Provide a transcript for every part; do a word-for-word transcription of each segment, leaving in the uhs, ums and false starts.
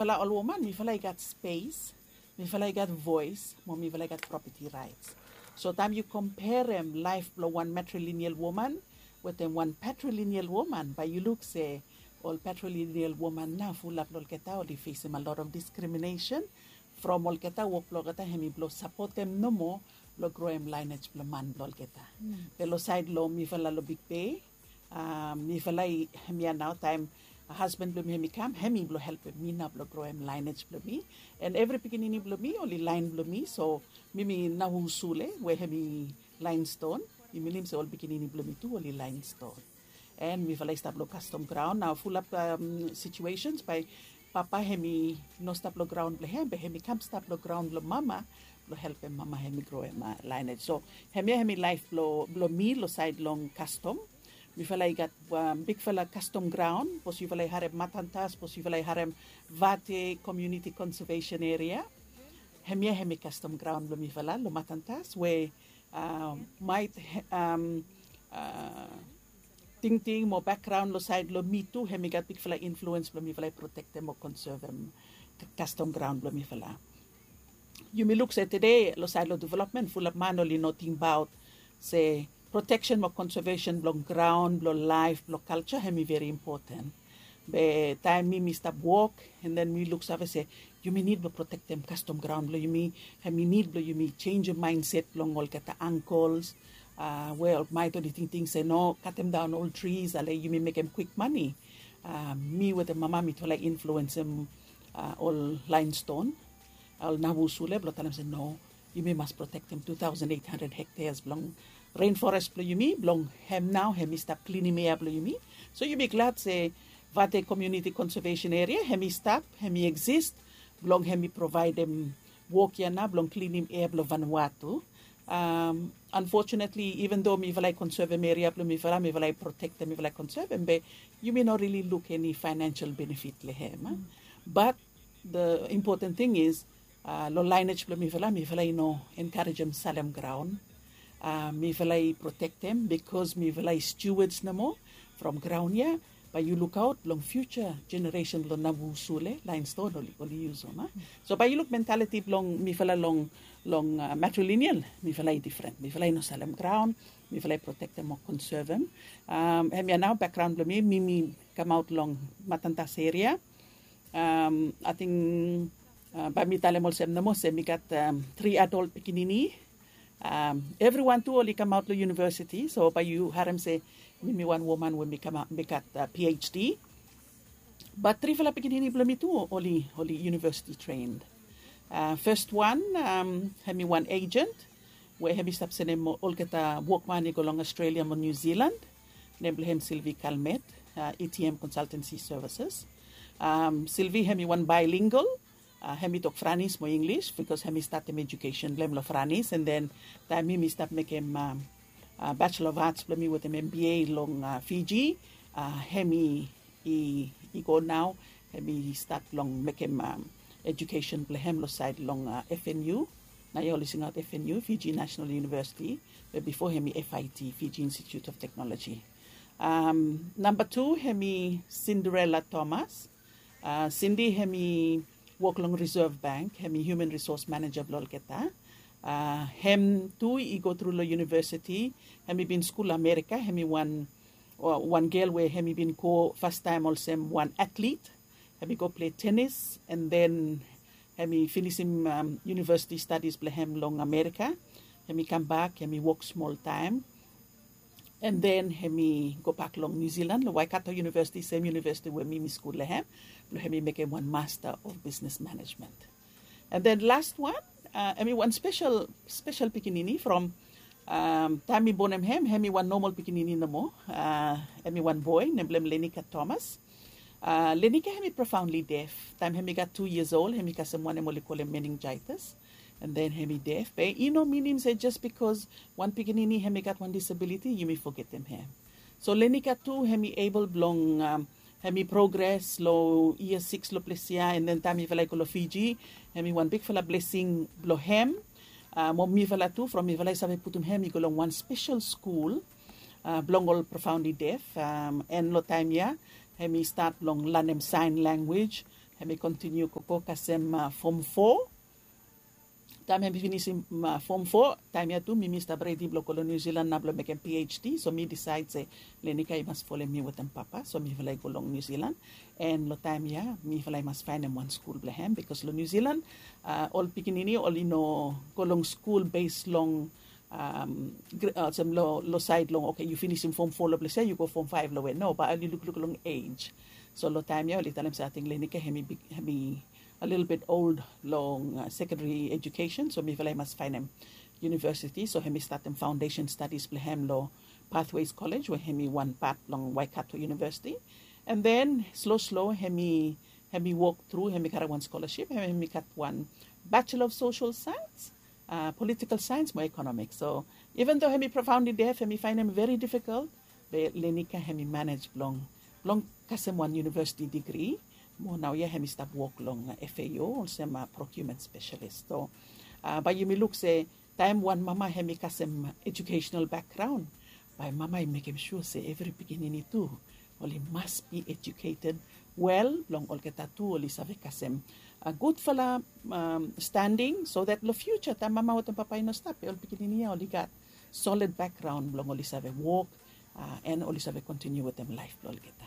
Mifala ol woman mifala i gat spes, mifala i gat voes mo mifala i gat propeti raets. So taem yu komperem laef blong wan matrilineal woman wetem wan patrilineal woman, bae yu luk se ol patrilineal woman nao fulap long olgeta oli fesem a lot of diskriminesen from olgeta wok blong olgeta hem i blong sapotem nomo blong groem laenej blong man blong olgeta. Be long saed long mifala long Big Bay, mifala i hem ya nao taem hasban blong mi hem i kam hem i blong helpem mi nao blong groem laenej blong mi. An evri pikinini blong mi oli laen blong mi, so mi mi nao usule we hem i laenston. Mi minim se ol pikinini blong mi tu oli laenston. An mifala i stap long kastom graon nao fulap situesens bae papa hem i no stap long graon blong hem be hem i kam stap long graon blong mama blong helpem mama hem i groem laenej. So hem ya hem i laef blong mi long saed long kastom. Mifala i gat bigfala kastom graon sapos yufala i harem matantas, sapos yufala i harem vate komiuniti konsevesen eria. Hem ya hem i kastom graon blong mifala long matantas we maet tingting mo bakgraon long saed long mi tu hem i gat bigfala influens blong mifala i protektem o konsevem kastom graon blong mifala. Yumi luk se tede long saed long developmen fulap man oli no tingbaot se proteksen mo konsevesen blong graon blong laef blong kalja hem i veri impoten. Be taem mi mi stap wok an den mi luksave se yumi nid blong protektem kastom graon blong yumi. Hem i nid blong yumi senjem maenset blong olgeta angkols we ol maet oli tingting se no katemdaon ol tris ale yumi mekem kwik mane. Mi wetem mama mitufala i influensem ol laenston, ol navu sule blong talem se no, yumi mas protektem tu taosen eit handred hekteas blong renfores blong yumi blong hem nao hem i stap klinim ea blong yumi. So yumi glad se vate komiuniti konsevesen eria hem i stap, hem i eksist blong hem i provaedem wok ya nao blong klinim ea blong vanua tu. Anfotunetli iven do mifala i konsevem eria blong mifala mifala i protektem mifala i konsevem be yumi no rili luk eni faenensel benefit long hem. Bat the impoten ting is long laenej blong mifala mifala i no enkarejem salem graon. Mifala i protektem bikos mifala i stiuads nomo from graon ya. Bae yu lukaot long fiuja jeneresen blong navu sule laenston oli yusum a. So bae yu luk mentaliti blong mifala long long matrilineal mifala i difren mifala i no salem graon. Mifala i protektem o konsevem. Hem ya nao bakgraon blong mi mi mi kamaot long matantas eria. Ating bae mi talem olsem nomo se mi gat tri adol pikinini. Evriwan tu oli kamaot long univesiti so bae yu harem se mi mi wan woman we mi gat phd. Bat trifala pikinini blong mi tu oli univesiti tren. Fes wan hem i wan ejent we hem i stap sendem olgeta wokman i go long aostralia mo niu zilan. Nem blong hem silvi kalmet, etm konsaltensi sevises. Silvi hem i wan baelingal. Hem i tok franis mo inglis bikos hem i statem ejukesen blong hem long franis an den taem mi mi stap mekem bachelor of arts blong mi wetem mba long fiji. Hem i i go nao hem i stat blong mekem ejukesen blong hem long saed long fnu. Nao ya oli singaot fnu fiji nasenal univesiti, be bifo hem i fit fiji institute of teknoloji. Namba tu hem i sinderela thomas. Sindi hem i wok long reserve bank hem i human resource maneja blong olgeta. Hem tu i go tru long univesiti. Hem i bin skul amerika hem i wan wan gel we hem i bin go fastaem olsem wan atlit. Hem i go plei tenis an den hem i finisim univesiti stadis blong hem long amerika. Hem i kambak hem i wok smoltaem an den hem i gobak long niu zilan long waikato univesiti sem univesiti we mi mi skul long hem blong hem i mekem wan masta of bisnes manejmen. An den las wan hem i wan spesel spesel pikinini from taem mi bonem hem hem i wan nomol pikinini nomo. Hem i wan boe nem blong hem lenika thomas. Lenika hem i profaonli def taem hem i gat tu yias ol hem i kasem wanem oli kolem meninjaitas. An den hem i def be i no minim se jes bikos wan pikinini hem i gat wan disabiliti yumi fogetem hem. So lenika tu hem i ebol blong hem i progres long yia siks long ples ya an den taem mifala i go long fiji hem i wan bikfala blesing blong hem mo mifala tu from mifala i save putum hem i go long wan spesel skul blong ol profaondi def. An long taem ya hem i stat blong lanem saen lanwis. Hemi kontiniu gogo kasem fom fo. Taem hemi finisim fom fo, taem ya tu mi mi stap redi blong go long Niu Zilan nao blong mekem PhD. So mi disaed se Lenika i mas folem mi wetem papa, so mifala i go long Niu Zilan. And long taem ya mifala i mas faenem wan skul blong hem, bikos long Niu Zilan ol pikinini oli no go long skul bes long olsem long saed long, oke, yu finisim fom fo long ples ya, yu go fom faev long we. No, bae oli lukluk long ej. So long taem ya oli talem se ating Lenika hemi a lilbit old long sekondari ejukesen, so mifala i mas faenem yunivesiti. So hemi statem faondesen stadis blong hem long Pathways College, we hemi wan pat blong Waikato Yunivesiti. And then slo slo hemi wok tru, hemi karem wan skolaship, hemi gat wan Bachelor of Social Science, Political Science mo Economics. So even though hemi profoundly deaf, hemi faenem very difficult, be Lenika hemi manej blong blong kasem wan yunivesiti digri. Mo naoia hemi stap wok long FAO olsem procurement specialist. So bae yumi luk se taem wan mama hemi kasem educational background, bae mama i mekem sua se evri pikinini tu oli mas be educated well blong olgeta tu oli save kasem gudfala standing, so that long future taem mama wetem papa i no stap, be ol pikinini ya oli gat solid background blong oli save wok and oli save kontiniu wetem laef blong olgeta.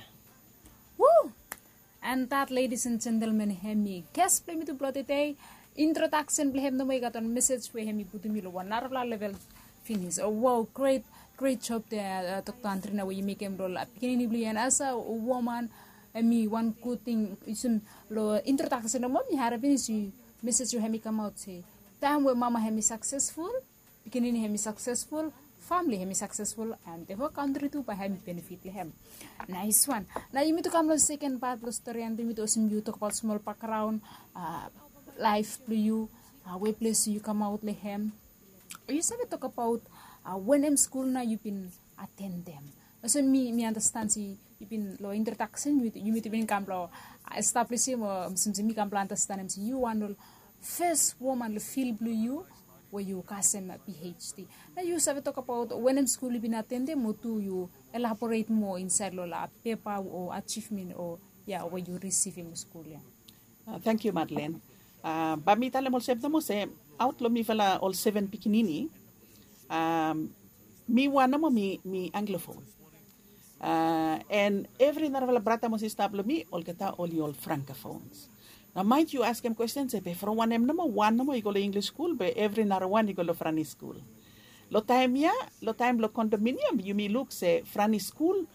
And that, ladies and gentlemen, hemi ges blong yumi tu blong tede. Introdaksen blong hem nomo i gat wan mesej we hemi putum yu long wan narafala level finis. Wow, great, great job there, Dr. Andrina, we yu mekem long pikinini blong yu. And as a woman, hemi wan gud ting. Yu sin long introdaksen nomo mi harem finis yu mesej we hemi kamaot se taem we mama hemi saksesful, pikinini hemi saksesful, famili hemi saksesful, and the whole kantri tu bae hemi benefit long hem. Naes wan. Nao yumi tu kam long seken pat blong stori, and yumi tu olsem yu tokbaot smol bakgraon, laef blong yu, we ples yu kamaot long hem. Yu save tokbaot wanem skul nao yu bin atendem? Olsem mi mi andastan se yu bin long introdaksen yumi tu bin kam blong establisim o olsem se mi kam blong andastanem se yu wan ol fes woman long fil blong yu we yu kasem PhD. Nao yu save tokbaot wanem skul yu bin atendem o tu yu elaboret moa insaed long ol pepa o ajivmen o ya we yu risivim long skul ya. Tangkiu Madeleine. Bae mi talem olsem nomo se aot long mifala ol seven pikinini, mi wan nomo mi Anglophone. And evri narafala brata mo sista blong mi olgeta oli ol Francophones. Nao maet yu askem kwesten se be from wanem nomo wan nomo i go long English skul be evri narawan i go long Franis skul? Long taem ya, long taem blong condominium yumi luk se Franis skul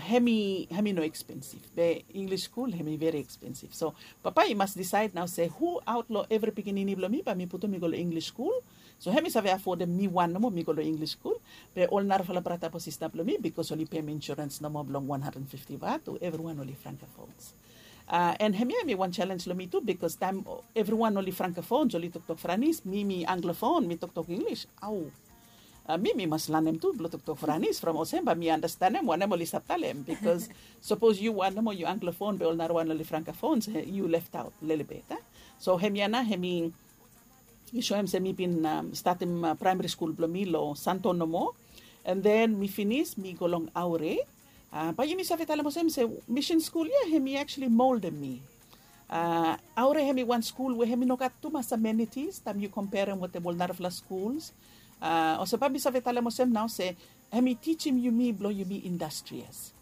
hemi hemi no ekspensif, be English skul hemi veri ekspensif. So papa i mas disaed nao se hu aot long evri pikinini blong mi bae mi putum i go long English skul. So hemi save afodem mi wan nomo mi go long English skul, be ol narafala brata mo sista blong mi, bikos oli pem insurens nomo blong wan handred fifti vat, evriwan oli Francophones. And hemia hemi wan selens long mi tu, bikos taem evriwan oli Francophones, oli toktok Franis, mi mi Anglophone mi toktok English. Au. Mi mi mas lanem tu blong toktok Franis from olsem bae mi andastanem wanem oli stap talem, bikos sapos yu wan nomo yu Anglophone be ol narawan oli Francophones, yu left aot lelebet. So hemia nao hemi i soem se mi bin statem praemari skul blong mi long Santo nomo. And then mi finis mi go long Aure. Bae yumi save talem olsem se misin skul ya hemi actually moldem mi. Aure hemi wan skul we hemi no gat tumas amenities taem yu komperem wetem ol narafala skuls. Olsem bae mi save talem olsem nao se hemi tijim yumi blong yumi industrious.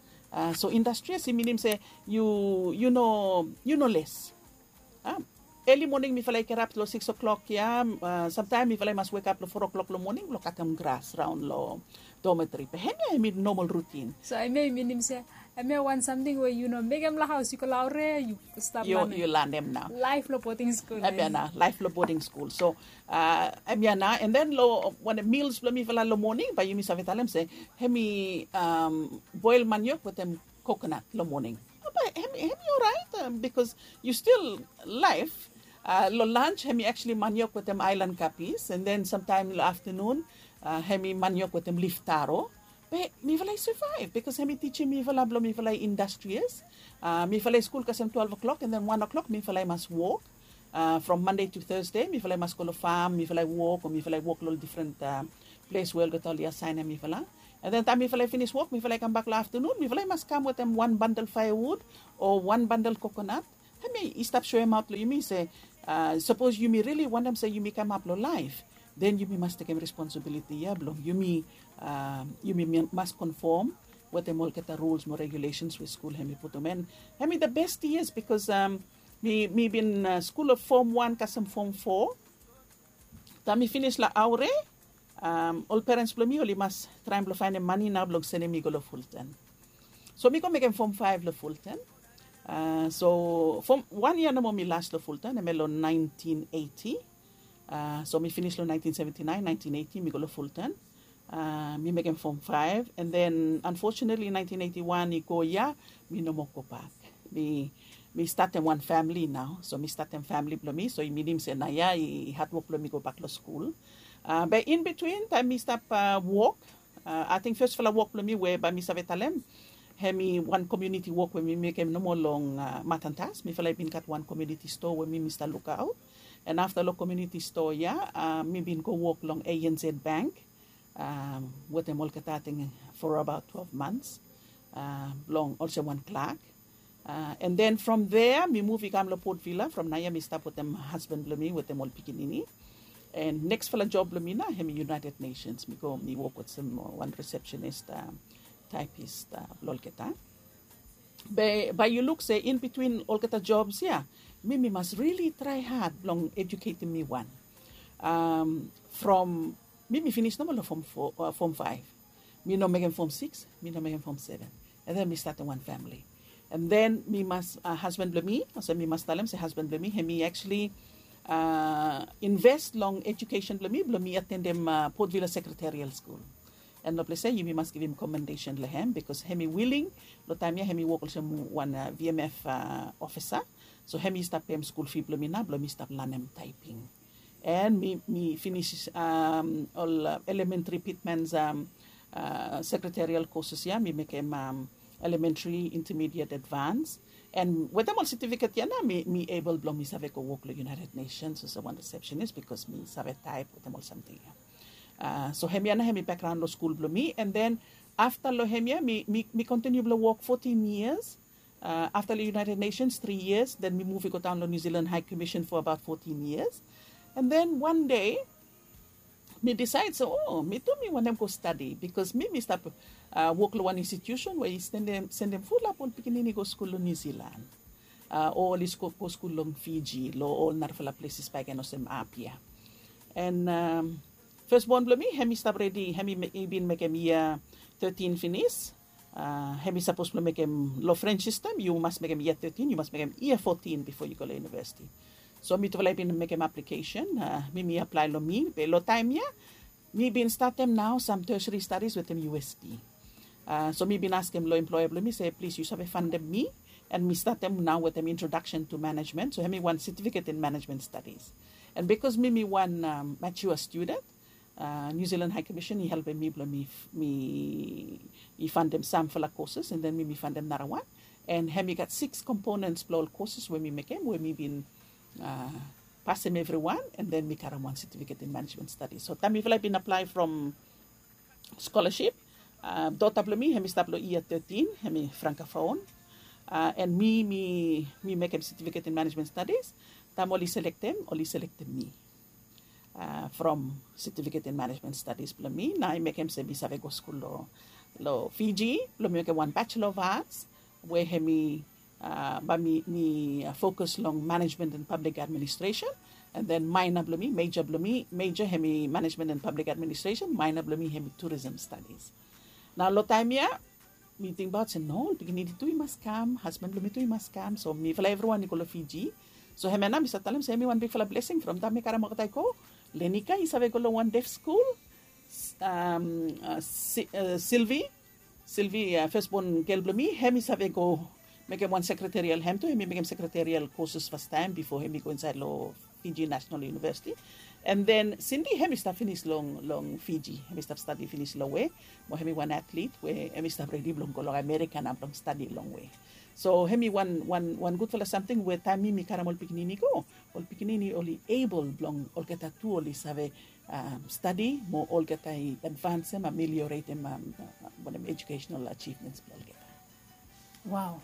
So industrious i minim se yu yu no yu no les. Eli moning mifala i kirap long sikis o'klok ya. Samtaem mifala i mas wekap long fo o'klok long moning blong katem gras raon long dormitory. Be hemia hemi nomal rutin. So hemia i minim se hemia wan samting we yu no mekem long haos, yu go long Aure yu stap lanem. Yu lanem nao. Laef long boding skul. Hemia nao laef long boding skul. So hemia nao, and then long wanem mils blong mifala long moning bae yumi save talem se hemi boel maniok wetem kokonat long moning. Bae hemi oraet, bikos yu stil laef. Long lans hemi actually maniok wetem aelan kapis, and then samtaem long aftanun hemi maniok wetem lif taro. Be mifala i savaev bikos hemi tijim mifala blong mifala i industrious. Mifala i skul kasem twelve o'clock, and then wan o'clock mifala i mas wok. From Monday to Thursday mifala i mas go long fam, mifala i wok o mifala i wok long ol difren ples we olgeta oli asaenem mifala. And then taem mifala i finis wok mifala i kambak long aftanun, mifala i mas kam wetem wan bandel faevud o wan bandel kokonat. Hemi i stap soemaot long yumi se sapos yumi rili wantem se yumi kamap long laef, then yumi mas tekem responsibiliti ya blong yumi yumi mas konfom wetem olgeta rules mo regulesens we skul hemi putum. And hemi the best years because mi bin skul long fom wan kasem fom fo. Taem mi finis long aure, ol perens blong mi oli mas traem blong faenem mane nao blong senem mi go long fulten. So mi go mekem fom faef long fulten. So fom wan yia nomo mi las long fulten, hemia long naentin eiti. So mi finis long naentin seventi naen, naentin eiti mi go long fulten. Mi mekem fom faef, and then anfotunatli naentin eiti wan i go ya, mi no moa gobak. Mi mi statem wan famili nao. So mi statem famili blong mi, so i minim se naoia i hatwok blong mi gobak long skul. Be in bitwin taem mi stap wok, ating fesfala wok blong mi we bae mi save talem, hemi wan komuniti wok we mi mekem nomo long matantas. Mifala i bin gat wan komuniti stoa we mi mi stap lukaot. And afta long komuniti stoa ya mi bin go wok long anz bank wetem olgeta ating for abaot twelve months blong olsem wan klak. And then from there mi muv i kam long Port Vila. From naoia mi stap wetem hasban blong mi wetem ol pikinini. And neksfala job blong mi nao hemi United Nations. Mi go mi wok olsem wan resepsenis, taepis blong olgeta. Be bae yu luk se in bitwin olgeta jobs ya, mi mi mas rili trae had blong ejuketem mi wan. From mi mi finis nomo long fom faef. Mi no mekem fom sikis, mi no mekem fom seven. And then mi statem wan famili. And then mi mas hasban blong mi, olsem mi mas talem se hasban blong mi hemi actually invest long ejukesen blong mi blong mi atendem Port Vila Sekreterial Skul. And long ples ya yumi mas givim komendesen long hem bikos hemi wiling. Long taem ya hemi wok olsem wan VMF ofisa. So hemi stap pem skul fi blong mi nao blong mi stap lanem taeping. And mi mi finis ol elementri pitmans sekreterial koses ya, mi mekem elementri, intermediate, advans. And wetem ol setifiket ya nao mi mi ebel blong mi save go wok long United Nations olsem wan resepsenis bikos mi save taep wetem ol samting ya. So hemia nao hemi bekgraon long skul blong mi. And then afta long hemia mi mi kontiniu blong wok fotin yias. Afta long United Nations tri yias, then mi muv i go daon long New Zealand High Commission for abaot fotin yias. And then wan dei mi disaed se o mi tu mi wantem go stadi bikos mi mi stap wok long wan institusen we i sendem fulap ol pikinini i go skul long New Zealand. O oli go skul long Fiji, long ol narafala pleses bakegen olsem Apia. And fesbon blong mi hemi stap redi, hemi i bin mekem yia tetin finis. Hemi sapos blong mekem long French sistem yu mas mekem yia tetin, yu mas mekem yia fotin bifo yu go long univesiti. So mitufala i bin mekem aplikesen. Mi mi aplae long mi be long taem ya mi bin statem nao sam tertiary stadis wetem USP. So mi bin askem long emploea blong mi se plis yu save fandem mi. And mi statem nao wetem introdaksen tu manejmen, so hemi wan setifiket in manejmen stadis. And bikos mi mi wan matua studen, New Zealand High Commission i helpem mi blong mi mi i fandem samfala koses and then mi mi fandem narawan. And hemi gat siks komponens blong ol koses we mi mekem we mi bin pasem evriwan. And then mi karem wan setifiket in manejmen stadis. So taem mifala i bin aplae from skolasip, dota blong mi hemi stap long yia tetin, hemi frankafon. And mi mi mi mekem setifiket in manejmen stadis. Taem oli selektem oli selektem mi from setifiket in manejmen stadis blong mi. Nao i mekem se mi save go skul long Fiji blong mi mekem wan bachelor of arts we hemi bae mi mi fokus long manejmen and pablik administresen. And then maena blong mi, meja blong mi, meja hemi manejmen and pablik administresen, maena blong mi hemi turism stadis. Nao long taem ya mi tingbaot se no, ol pikinini tu i mas kam, hasban blong mi tu i mas kam. So mifala evriwan i go long Fiji. So hemia nao mi save talem se hemi wan bigfala blesing from taem mi karem olgeta i go. Lenika i save go long wan def skul. Silvi, Silvi fesbon gel blong mi, hemi save go mekem wan sekreterial, hem tu hemi mekem sekreterial koses fastaem bifo hemi go insaed long Fiji National University. And then Sindi hemi stap finis long long Fiji, hemi stap stadi finis long we mo hemi wan atlit we hemi stap redi blong go long Amerika nao blong stadi long we. So hemi wan wan wan gudfala samting we taem mi mi karem ol pikinini go, ol pikinini oli ebel blong olgeta tu oli save stadi mo olgeta i advansem, amelioretem wanem ejukesenal ajivmens blong olgeta. Wow.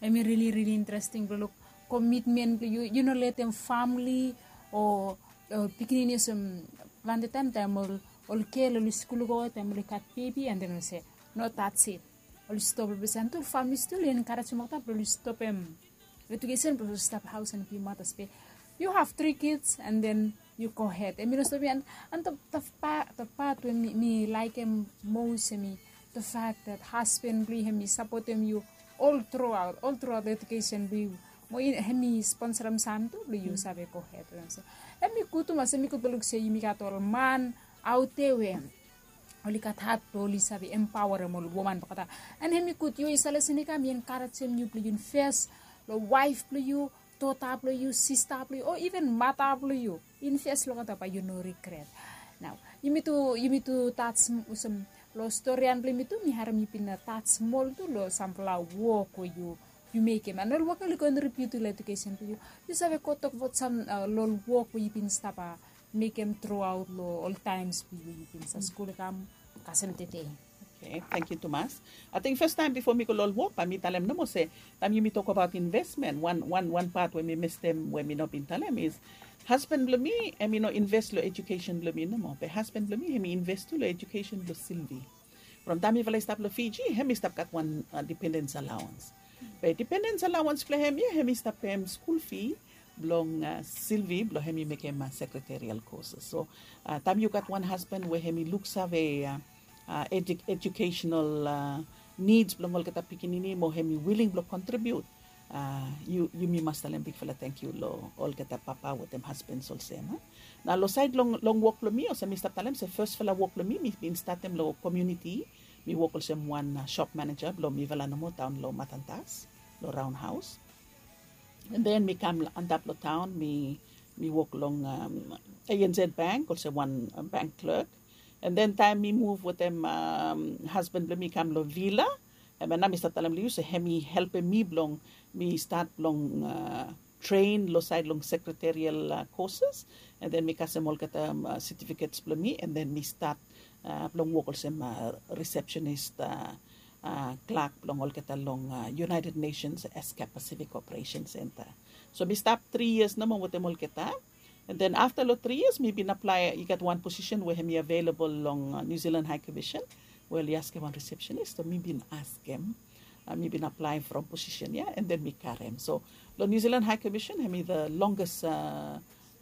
Hemi rili rili interesting blong luk komitmen blong yu, yu no letem famili o pikinini olsem plante taem taem ol gel oli skul go taem oli gat bebi and then oli se no, that's it. Oli stop long ples and tu famili stil i enkarejem olgeta blong oli stopem edukesen blong oli stap haos and bi matas be yu have tri kids and then yu go hed. Em i no stop ya and the part we mi laikim mos em i the fact that hasban blong yu hem i sapotem yu ol truaot ol truaot edukesen blong yu mo hem i sponsorem sam tu blong yu save go hed. So hem i gud tumas, hem i gud blong luk se yumi gat ol man aute we oli gat hat blong oli save empaorem ol woman blong olgeta. And hem i gud yu i save lesen i kam i enkarejem yu blong yu invest long waef blong yu, dota blong yu, sista blong yu o iven mata blong yu. Invest long olgeta bae yu no rigret. Nao yumi tu yumi tu taj olsem long storian blong yumi tu mi harem yu bin taj smol tu long sampela wok we yu yu mekem and ol wok ya oli kontribiut long edukesen blong yu. Yu save go tokbaot sam long ol wok we yu bin stap mekem truaot long ol taems blong yu we yu bin stap skul i kam kasem tede. Okay, tangkiu tumas. Ating fastaem bifo mi go long ol wok bae mi talem nomo se taem yumi tokbaot invesmen wan wan wan pat we mi mestem we mi no bin talem is hasban blong mi hem i no inves long edukesen blong mi nomo be hasban blong mi hem i inves tu long edukesen blong Silvi. From taem mifala i stap long Fiji hem i stap gat wan dipendens alaoans. Be dipendens alaoans blong hem ya hem i stap pem skul fi blong Silvi blong hem i mekem sekreterial koses. So taem yu gat wan hasban we hem i luksave ejukesenal nids blong olgeta pikinini mo hem i wiling blong kontribiut, yumi mas talem bigfala tangkiu long olgeta papa wetem hasbans olsem. Nao long saed long wok blong mi olsem mi stap talem se fasfala wok blong mi mi bin statem long komuniti. Mi wok olsem wan sop maneja blong mifala nomo daon long Matantas long Raon Haos. And then mi kam antap long taon mi mi wok long ANZ Bank olsem wan bank clerk. And then taem mi muv wetem hasban blong mi kam long Vila, hemia nao mi stap talem long yu se hem i helpem mi blong mi stat blong train long saed long sekreterial koses. And then mi kasem olgeta setifikets blong mi and then mi stat blong wok olsem risepsenis klak blong olgeta long United Nations Asia Pacific Operation Center. So mi stap tri yias nomo wetem olgeta. And then afta long tri yias mi bin aplae i gat wan posisen we hem i avelabol long New Zealand High Commission we oli askem wan risepsenis. So mi bin askem, mi bin aplae from posisen ya and then mi karem. So long New Zealand High Commission hem i the longest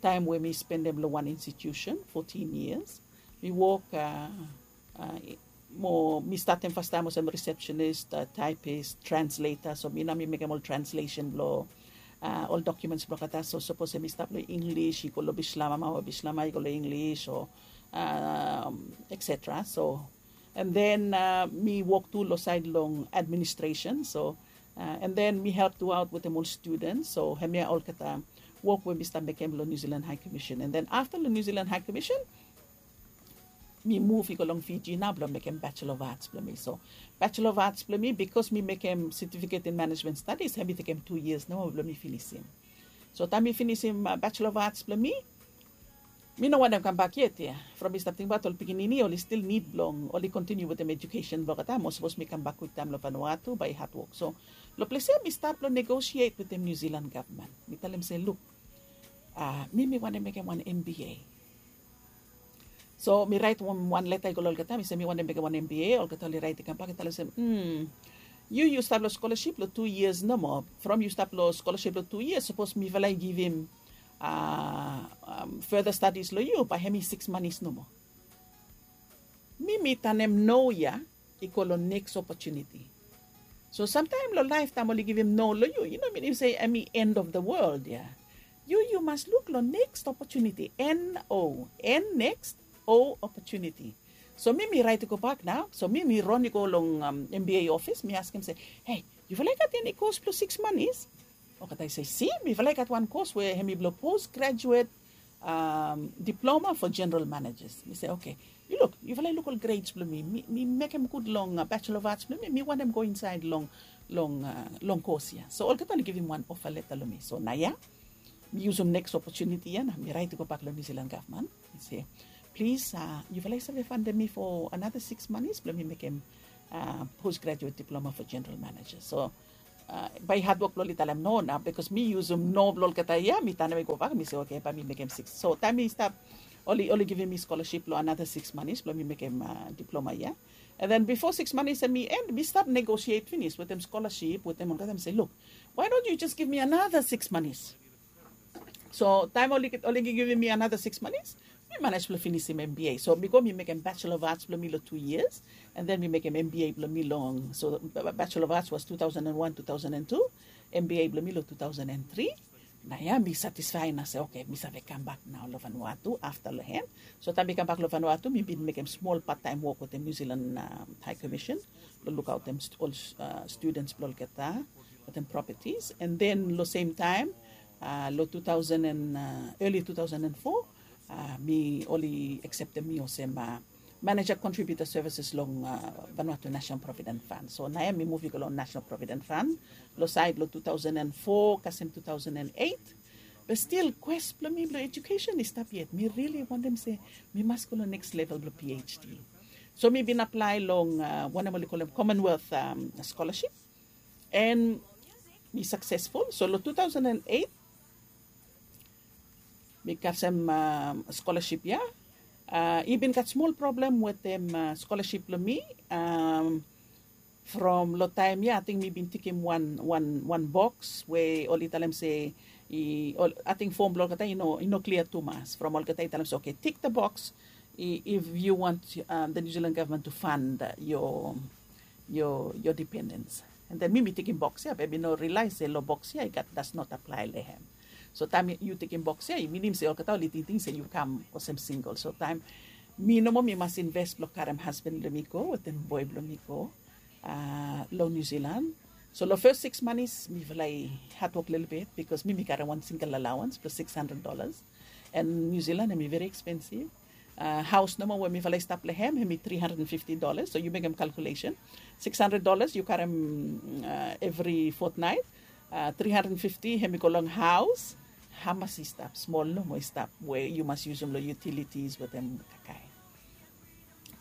taem we mi spendem long wan institusen fotin yias. Mi wok mo mi statem fastaem olsem risepsenis, taepis, transleta. So mi nao mi mekem ol translesen blong ol dokiumens blong olgeta. So sapos hem i stap long Inglis i go long Bislama mo Bislama i go long Inglis o etsetera. So and then mi wok tu long saed long administresen. So and then mi help tu aot wetem ol studens. So hemia olgeta wok we mi stap mekem long New Zealand High Commission. And then afta long New Zealand High Commission mi muv i go long Fiji nao blong mekem Bachelor of Arts blong mi. So Bachelor of Arts blong mi bikos mi mekem Certificate in Management Studies hem i tekem tu yias nao blong mi finisim. So taem mi finisim Bachelor of Arts blong mi mi no wantem kambak yet ya. From mi stap tingbaot ol pikinini oli stil nid blong oli kontiniu wetem ejukesen blong olgeta mo sapos mi kambak kwiktaem long Vanuatu bae i hatwok. So long ples ya mi stat blong negosiet wetem New Zealand gavman. Mi talem se luk, mi mi wantem mekem wan MBA. So mi raet wan leta i go long olgeta mi se mi wantem mekem wan MBA. Olgeta oli raet i kambak i talem se yu yu stap long skolaship long tu yias nomo. From yu stap long skolaship long tu yias sapos mifala i givim further studies long yu bae hem i siks manis nomo. Mi mi tanem no ya i go long neks opotuniti. So samtaem long laef taem oli givim no long yu i no minim se hem i end of the world ya. Yu yu mas luk long neks opotuniti, N O, N neks, O opotuniti. So mi mi raet i gobak nao. So mi mi ron i go long MBA ofis mi askem se, hei, yufala i gat eni kos blong siks manis? Olgeta i se, si, mifala i gat wan kos we hem i blong pos grajuet diploma fo jeneral manejas. Mi se, oke, yu luk, yufala i luk ol grades blong mi. Mi mekem gud long bachelor of arts blong mi. Mi wantem go insaed long long kos ya. So olgeta oli givim wan ofa leta long mi. So naoia mi yusum neks opotuniti ya na mi raet i gobak long New Zealand gavman. Mi se, plis, yufala i save fandem mi fo anata siks manis blong mi mekem pos grajuet diploma fo jeneral maneja. So Bae i hadwok blong oli talem no nao, bikos mi yusum no blong olgeta ya, mi tanem i gobak, mi se oke, bae mi mekem siks. So taem mi stap, oli oli givim mi skolaship long anata siks manis blong mi mekem diploma ya. And then bifo siks manis em i en, mi stap negosiet finis wetem skolaship wetem olgeta, mi se luk, why don't you just give me another six manis? So taem oli givim mi anata siks manis, mi manej blong finisim mba. So mi go mi mekem bachelor of arts blong mi long tu yias, and then mi mekem mba blong mi long, so bachelor of arts was two thousand and one, two thousand and two, mba blong mi long two thousand and three. Nao ya mi satisfai nao se oke, mi save kambak nao long Vanuatu afta long hem. So taem mi kambak long Vanuatu, mi bin mekem smol pattaem wok wetem New Zealand High Commission blong lukaotem ol studens blong olgeta wetem properties. And then long sem taem, long two thousand and early two thousand and four, mi oli akseptem mi olsem manager contributor services long Vanuatu National Provident Fund. So nao ya mi muv i go long National Provident Fund long saed long two thousand and four kasem two thousand and eight. Be stil kwes blong mi blong ejukesen i stap yet. Mi rili wantem se mi mas go long neks level blong PhD. So mi bin aplae long wanem oli kolem Commonwealth skolaship, and mi saksesful. So long two thousand and eight mi kasem skolaship ya. I bin gat smol problem wetem skolaship blong mi. From long taem ya ating mi bin tikim wan boks we oli talem se, ating fom blong olgeta i no klia tumas. From olgeta i talem se oke, tik the box if you want the New Zealand government to fund your dependence. And then mi mi tikim boks ya, be mi no rilaes se long boks ya i gat does not apply long hem. So taem yu tikim boks ya i minim se olgeta oli tingting se yu kam olsem singel. So taem mi nomo mi mas inves blong karem hasban blong mi go wetem boe blong mi go long New Zealand. So long fes siks manis mifala i hadwok lelebet, bikos mi mi karem wan singel alaoans blong six hundred dollars. And New Zealand hem i veri ekspensiv. Haos nomo we mifala i stap long hem hem i three hundred and fifty dollars. So yu mekem kalkulesen, six hundred dollars yu karem evri fotnaet, three hundred and fifty hem i go long haos. Hamas i stap? Smol nomo i stap we yu mas yusum long utilities wetem kakae.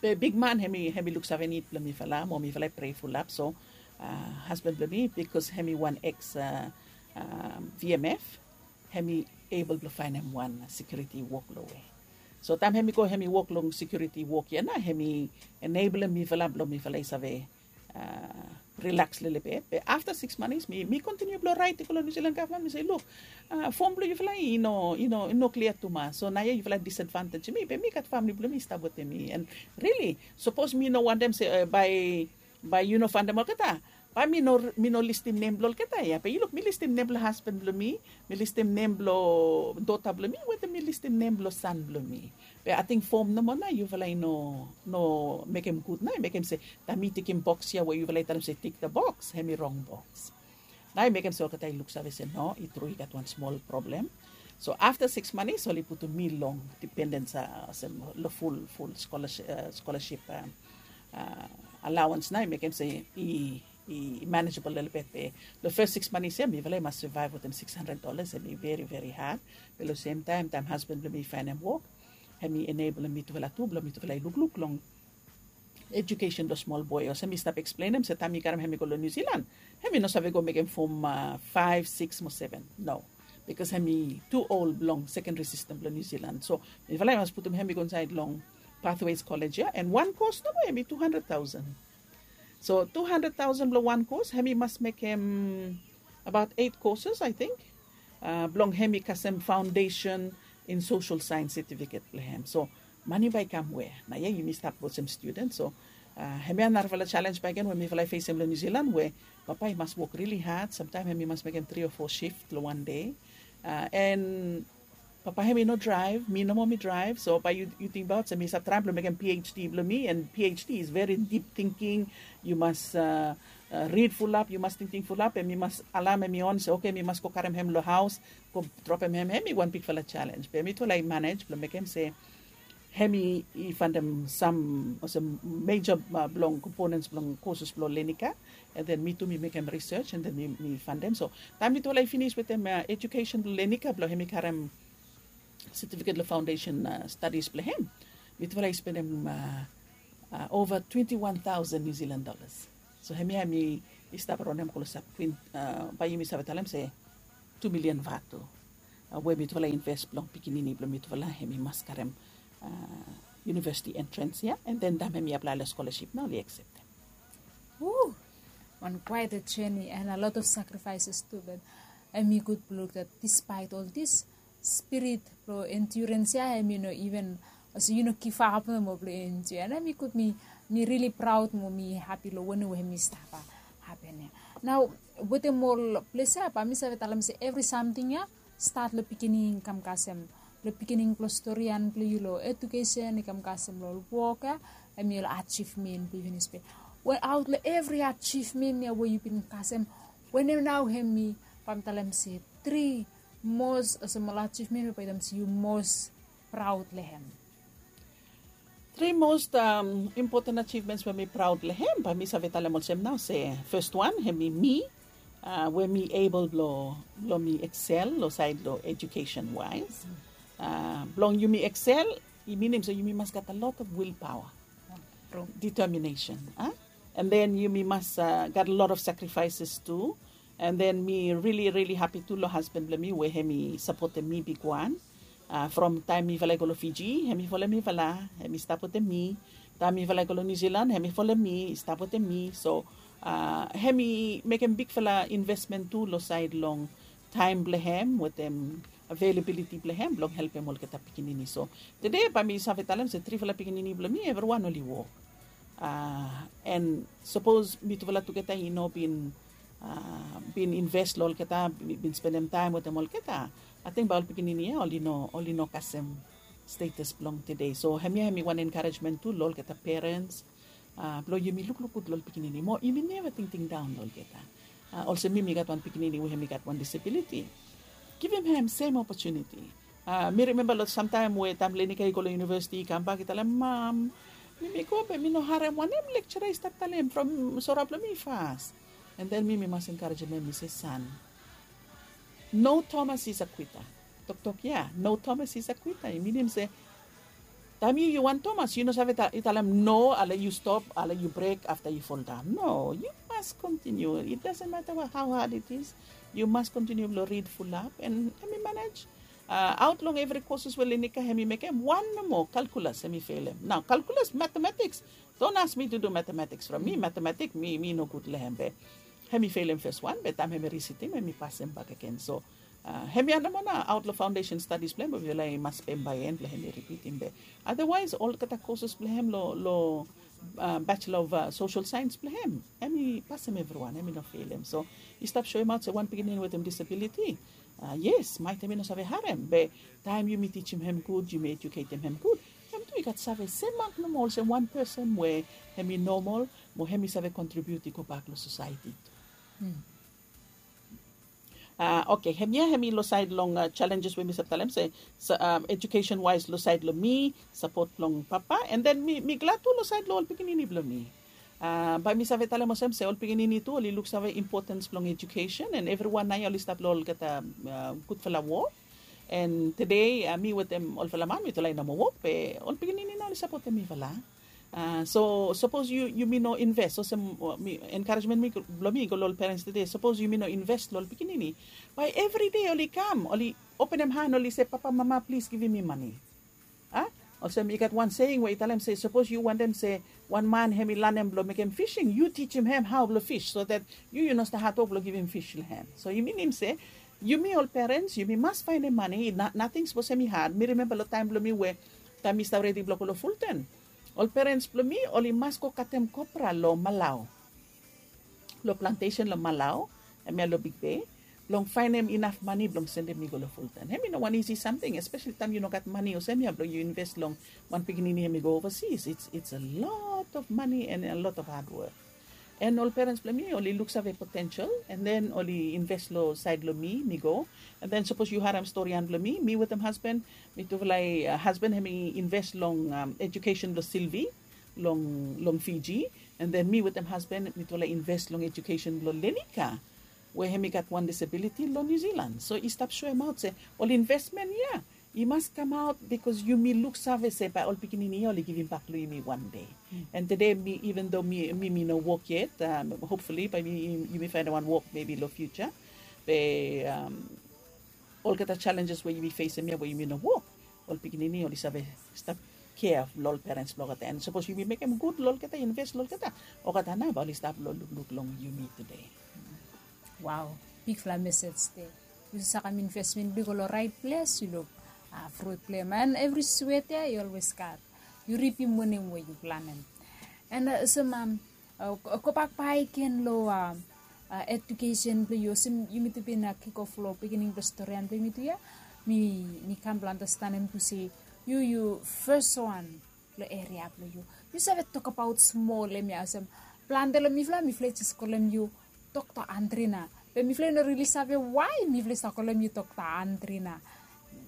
Be bigman hem i luksave nid blong mifala mo mifala i prei fulap. So hasban blong mi, bikos hem i wan eks VMF, hem i ebol blong faenem wan sekiuriti wok long we. So taem hem i go hem i wok long sekiuriti wok ya nao hem i eneblem mifala blong mifala i save rilaks lelebet. Be afta siks manis mi kontiniu blong raet i go long New Zealand gavman, mi se luk, fom blong yufala i no klia tumas. So naoia yufala disadvantejem mi, be mi gat famili blong mi i stap wetem mi. And rili sapos mi no wantem se bae yu no faenem olgeta, bae mi no listim nem blong olgeta ya. Be yu luk, mi listim nem blong hasban blong mi, mi listim nem blong dota blong mi, wetem mi listim nem blong san blong mi. Be ating fom nomo nao yufala i no mekem gud nao, i mekem se taem mi tikim boks ya we yufala i talem se tik the boks, hem i rong boks. Nao i mekem se olgeta i luksave se no, i tru i gat wan smol problem. So afta siks manis oli putum mi long dependens, olsem long fulful skolaship alaoans nao i mekem se i manejebol lelebet. Be long fes siks manis ya mifala i mas savaev wetem six hundred dollars, hem i veri veri had. Be long semtaem taem hasban blong mi i faenem wok, hem i eneblem mitufala tu blong mitufala i lukluk long ejukesen blong smol boe. Olsem mi stap eksplenem se taem mi karem hem i go long New Zealand, hem i no save go mekem fom faev, siks mo seven, no. Bikos hem i tu ol blong sekendri sistem blong New Zealand. So mifala i mas putum hem i go insaed long Pathways College ya, and wan kos nomo hem i two hundred thousand. So two hundred thousand blong wan kos, hem i mas mekem abaot eit koses, I think, blong hem i kasem foundation in social science certificate blong hem. So mani bae i kam wea? Naoia yumi stap olsem student. So hemia narafala jalenj bakegen we mifala i fesem long New Zealand, we papa i mas wok rili had. Samtaem hem i mas mekem tri o fo sift long wan dei. And papa hem i no draev, mi nomo mi draev. So bae yu tingbaot se mi save traem blong mekem PhD blong mi, and PhD is veri dip tingting. Yu mas rid fulap, yu mas tingting fulap, and mi mas alaem hem i on se oke, mi mas go karem hem long haos, go dropem hem. Hem i wan bigfala jalenj, be mitufala i manej blong mekem se hem i faenem sam olsem meja blong komponens blong koses blong Lenika. And then mi tu mi mekem risej, and then mi faenem. So taem mitufala i finis wetem ejukesen blong Lenika blong hem i karem setifiket long foundation stadis blong hem, mitufala i spendem ova twenti wan taosen New Zealand dolas. So hemia hem i i stap ronem klosap, bae yumi save talem se tu milian vatu we mitufala invest blong pikinini blong mitufala hemi mas karem university entrance ya, and then taem hemi aplae long scholarship nao oli acceptem. Wan quite a journey and a lot of sacrifices tu, but hemi gud blong luk that despite all this, spirit blong endurance ya hemi no even, olsem yu no give up nomo blong endure. And hemi gud, mi mi really proud mo mi happy long wanem we hemi stap happen ya. Nao wetem ol ples ya bae mi save talem se evri samting ya stat long pikinini i kam kasem, long pikinini blong storian blong yu long education i kam kasem long ol wok ya, hemi ol achievement blong yu finis be. Aot long evri achievement ya we yu bin kasem, wanem nao hemi, bae mi talem se tri mos olsem ol achievement we bae yu talem se yu mos proud long hem? Tri most important achievements we mi proud long hem, bae mi save talem olsem nao se first wan hemi mi, we mi able blong mi excel long sait long education wise. Blong yumi excel i minim se yumi mas gat a lot of will power, determination, and then yumi mas gat a lot of sacrifices tu. And then mi really really happy tu long husband blong mi we hemi sapotem mi bigwan. From taem mifala i go long Fiji hemi folem mifala, hemi stap wetem mi. Taem mifala i go long New Zealand hemi folem mi, i stap wetem mi. So hemi mekem bigfala investment tu long sait long taem blong hem wetem availability blong hem blong helpem olgeta pikinini. So tede bae mi save talem se trifala pikinini blong mi evriwan oli wok. And sapos mitufala tugeta i no bin bin invest long olgeta, bin spendem taem wetem olgeta, ating bae ol pikinini ya oli no kasem status blong tede. So hemia hemi wan encouragement tu long olgeta parents blong yumi lukluk gud long ol pikinini mo yumi neva tingting daon long olgeta. Olsem mi mi gat wan pikinini we hemi gat wan disabiliti, givim hem sem opportunity. Mi rimemba long samtaem we taem Lenika i go long universiti i kambak i talem, mam, mi mi go be mi no harem wanem lecturer i stap talem from sora blong mi fas. And then mi mi mas encouragem hem mi se, san, no Thomas is a quitter. Toktok ya, no Thomas is a quitter, i minim se taem yu yu wan Thomas yu no save talem no ale yu stop ale yu brek afta yu foldaon. No, yu mas kontiniu. It doesn't matter how hard it is. Yu mas kontiniu blong rid fulap and hemi manej. Aot long evri koses we Lenika hemi mekem, wan nomo kalkulas hemi felem. Nao kalkulas, matematiks, don't ask me to do matematiks from mi, matematik mi mi no gud long hem be hemi felem fes wan be taem hemi risitim hemi pasem bakegen. So hemia nomo nao aot long foundation stadis blong hem we mifala i mas spem bae en blong hemi ripitim be. Otherwise olgeta koses blong hem long Bachelor of Social Science blong hem, hemi pasem evriwan, hemi no felem. So i stap soemaot se wan pikinini wetem disabiliti, yes, maet hemi no save harem be taem yumi tijim hem gud, yumi ejuketem hem gud, hem tu i gat save semak nomo olsem wan pesen we hemi nomal mo hemi save kontribiut i gobak long sosaeti tu. Oke, hemia hemi long saed long jalenjes we mi save talem se ejukesen waes long saed long mi, sapot blong papa, and then mi glad tu long saed long ol pikinini blong mi. Bae mi save talem olsem se ol pikinini tu oli luksave impotens blong ejukesen and evriwan nao ya oli stap long olgeta gudfala wok. And tede mi wetem olfala man mitufala i no moa wok be ol pikinini nao oli sapotem mifala. So sapos yumi no inves olsem, enkarejmen blong mi i go long ol perens tede, sapos yumi no inves long ol pikinini, bae evride oli kam oli openem han oli se, papa, mama, plis givim mi mane. A, olsem i gat wan seing we i talem se sapos yu wantem se wan man hem i lanem blong mekem fising, yu tijim hem hao blong fis so dat yu yu no stap hatwok blong givim fis long hem. So i minim se yumi ol perens yumi mas faenem mane. Nating sapos hem i had. Mi rimemba long taem blong mi we taem mi stap redi blong go long Fulton, ol perens blong mi oli mas go katem kopra long Malau, long plantesen long Malau, hemia long Big Bay, blong faenem inaf mane blong sendem mi go long Fulton. Hem i no wan isi samting, espeseli taem yu no gat mane olsem ya blong yu inves long wan pikinini hem i go ovasis. It's a lot of mane and a lot of hadwok. And ol perens blong mi oli luksave potensel and then oli inves long saed long mi mi go. And then sapos yu harem storian blong mi, mi wetem hasban, mitufala i hasban hem i inves long ejukesen blong Silvi long Fiji. And then mi wetem hasban mitufala i inves long ejukesen blong Lenika, we hem i gat wan disabiliti long Niu Zilan. So i stap soemaot se ol invesmen ya I mas kamaot bikos yumi luksave se bae ol pikinini ya oli givimbak long yumi wan dei. An tede mi, even though mi mi mi no wok yet, hopefully bae mi yumi faenem wan wok mebi long fiuja. Be olgeta jalenjes we yumi fesem ya we yumi no wok, ol pikinini oli save stap kea long ol perens blong olgeta. An sapos yumi mekem gud long olgeta, inves long olgeta, olgeta nao bae oli stap long lukluk long yumi tude. Wow, bigfala mesej de. Yu save kam investment blo yu go long rait ples, yu luk, a, frut blo em. An evri swet ya yu olwes gat, yu ripim wanem we yu planem. An olsem, a, gobak bakegen long, a, ejukesen blo yu, olsem yumi tu bin kikof long beginning blong storian blo yumi tu ya. Mi kam blong anastenem tu se yu yu fes wan long eria blong yu. Yu save tokbaot smol em ya olsem, plante long mifala mifala i jes kolem yu Dokta Andrina. Be mifala i no rili save wae mifala i stap kolem yu Dokta Andrina.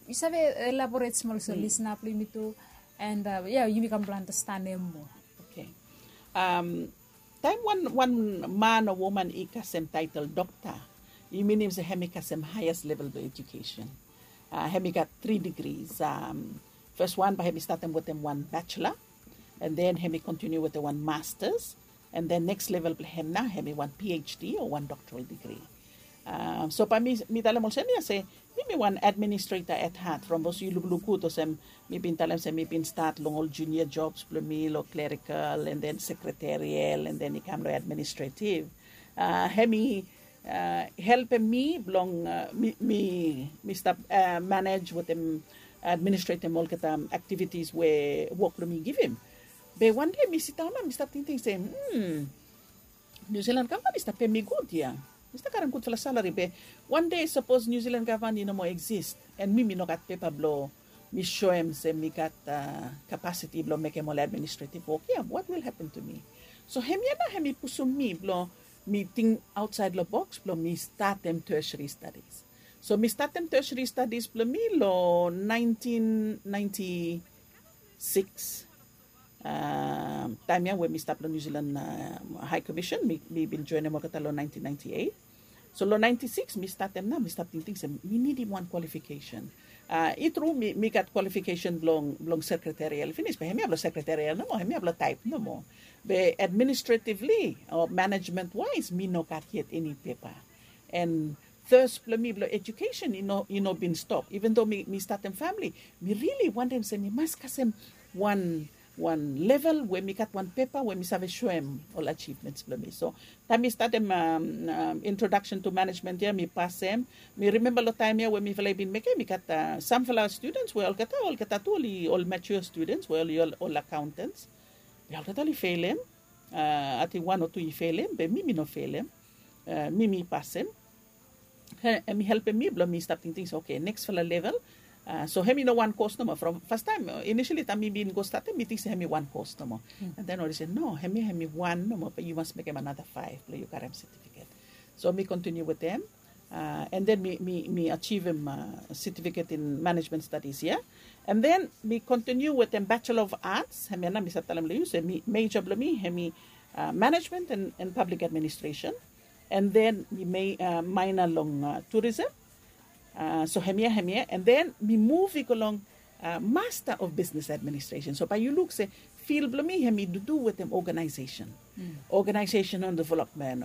Yu save elaboret smol so lisna blong yumi tu. An ya yumi kam blong anastenem moa. Taem wan man o woman i kasem taetol dokta, i minim se hem i kasem haeas level blong ejukesen. Hem i gat tri digris. Fes wan bae hem i statem wetem wan bachelor, an den hem i kontiniu wetem wan masters, an den neks level blong hem nao hem i wan phd o wan doktoral digri. So bae mi talem olsem ya se mi mi wan administreta at hat from bikos yu lukluk gud olsem mi bin talem se mi bin stat long ol junia jobs blong mi long klerikal an den sekreterial an den i kam long administretiv. Hem i helpem mi blong mi stap manej wetem administretem olgeta aktivitis we wok blong mi givim. Be wande mi sidaon nao mi stap tingting se, niu silan gavman i stap pem mi gud ya. Mi stap karem gudfala salari be wande sapos niu silan gavman i no moa eksis an mi mi no gat pepa blong mi soem se mi gat kapasiti blong mekem ol administretiv wok ya, wat wil hapen tu mi? So hemia nao hem i pusum mi blong mi ting aotsaed long boks blong mi statem tesri stadis. So mi statem tesri stadis blong mi long naentin naenti siks. Taem ya we mi stap long niu silan hae komisen mi bin joenem olgeta long naentin naenti eit. So long naenti siks mi statem nao mi stap tingting se mi nidim wan kwalifikesen. I tru mi gat kwalifikesen blong sekreterial finis be hemia blong sekreterial nomo, hemia blong taep nomo. Be administretivli o manejmen waes mi no gat yet eni pepa. An thes blong mi blong ejukesen i no bin stop. Even do mi statem famili, mi rili wantem se mi mas kasem wan wan level we mi gat wan pepa we mi save soem ol ajivmens blong mi. So taem mi statem introdaksen tu manejmen ya mi pasem. Mi rimemba long taem ya we mifala i bin mekem i gat samfala studens we olgeta olgeta tu oli ol matua studens we oli ol akaontens. Be olgeta oli felem. Ating wan o tu i felem be mi mi no felem. Mi mi pasem. Hem i helpem mi blong mi stap tingting se oke, neksfala level. So hem i no wan kos nomo from fastaem inisali taem mi bin go statem mi ting se hem i wan kos nomo. An den oli se no, hemia hem i wan nomo be yu mas mekem anata faef blong yu karem setifiket. So mi kontiniu wetem an den mi ajivim setifiket in manejmen stadis ya. An den mi kontiniu wetem bachelor of arts, hemia nao mi save talem long yu se meja blong mi hem i manejmen an pablik administresen. An den mi maena long turism. So hemia hemia an den mi muv i go long masta of bisnes administresen. So bae yu luk se fil blong mi hem i dudu wetem oganaesesen, oganaesesen on developmen,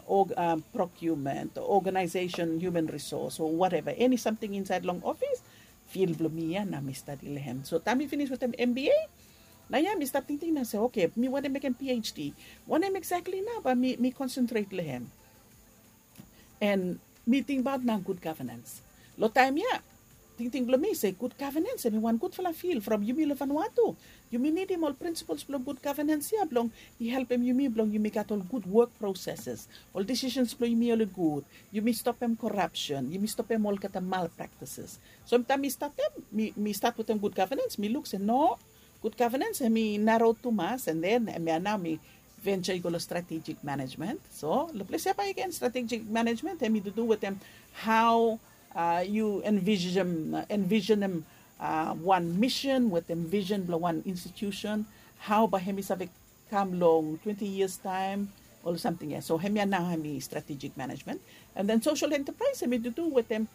prokiumen, oganaesesen hiuman risos o wateva eni samting insaed long ofis. Fil blong mi ya nao mi stadi long hem. So taem mi finis wetem mba, nao ya mi stap tingting nao se oke, mi wantem mekem phd. Wanem eksakli nao bae mi konsentret long hem? An mi tingbaot nao gud gavenens. Long taem ya tingting blong mi se gud gavenens hem i wan gudfala fil from yumi long vanua tu. Yumi nidim ol prinsipols blong gud gavenens ya blong i helpem yumi blong yumi gat ol gud wok proseses, ol disisens blong yumi oli gud, yumi stopem korapsen, yumi stopem olgeta malpraktises. So taem mi statem mi stat wetem gud gavenens mi luk se no, gud gavenens hem i naro tumas an den hemia nao mi venja i go long stratejik manejmen. So long ples ya bae agen stratejik manejmen hem i dudu wetem hao yu envisenem wan misen wetem visen blong wan institusen, hao bae hem i save kam long twenti yias taem, ol samting ya. So hemia nao hem i stratejik manejmen. An den sosel entepraes hem i dudu wetem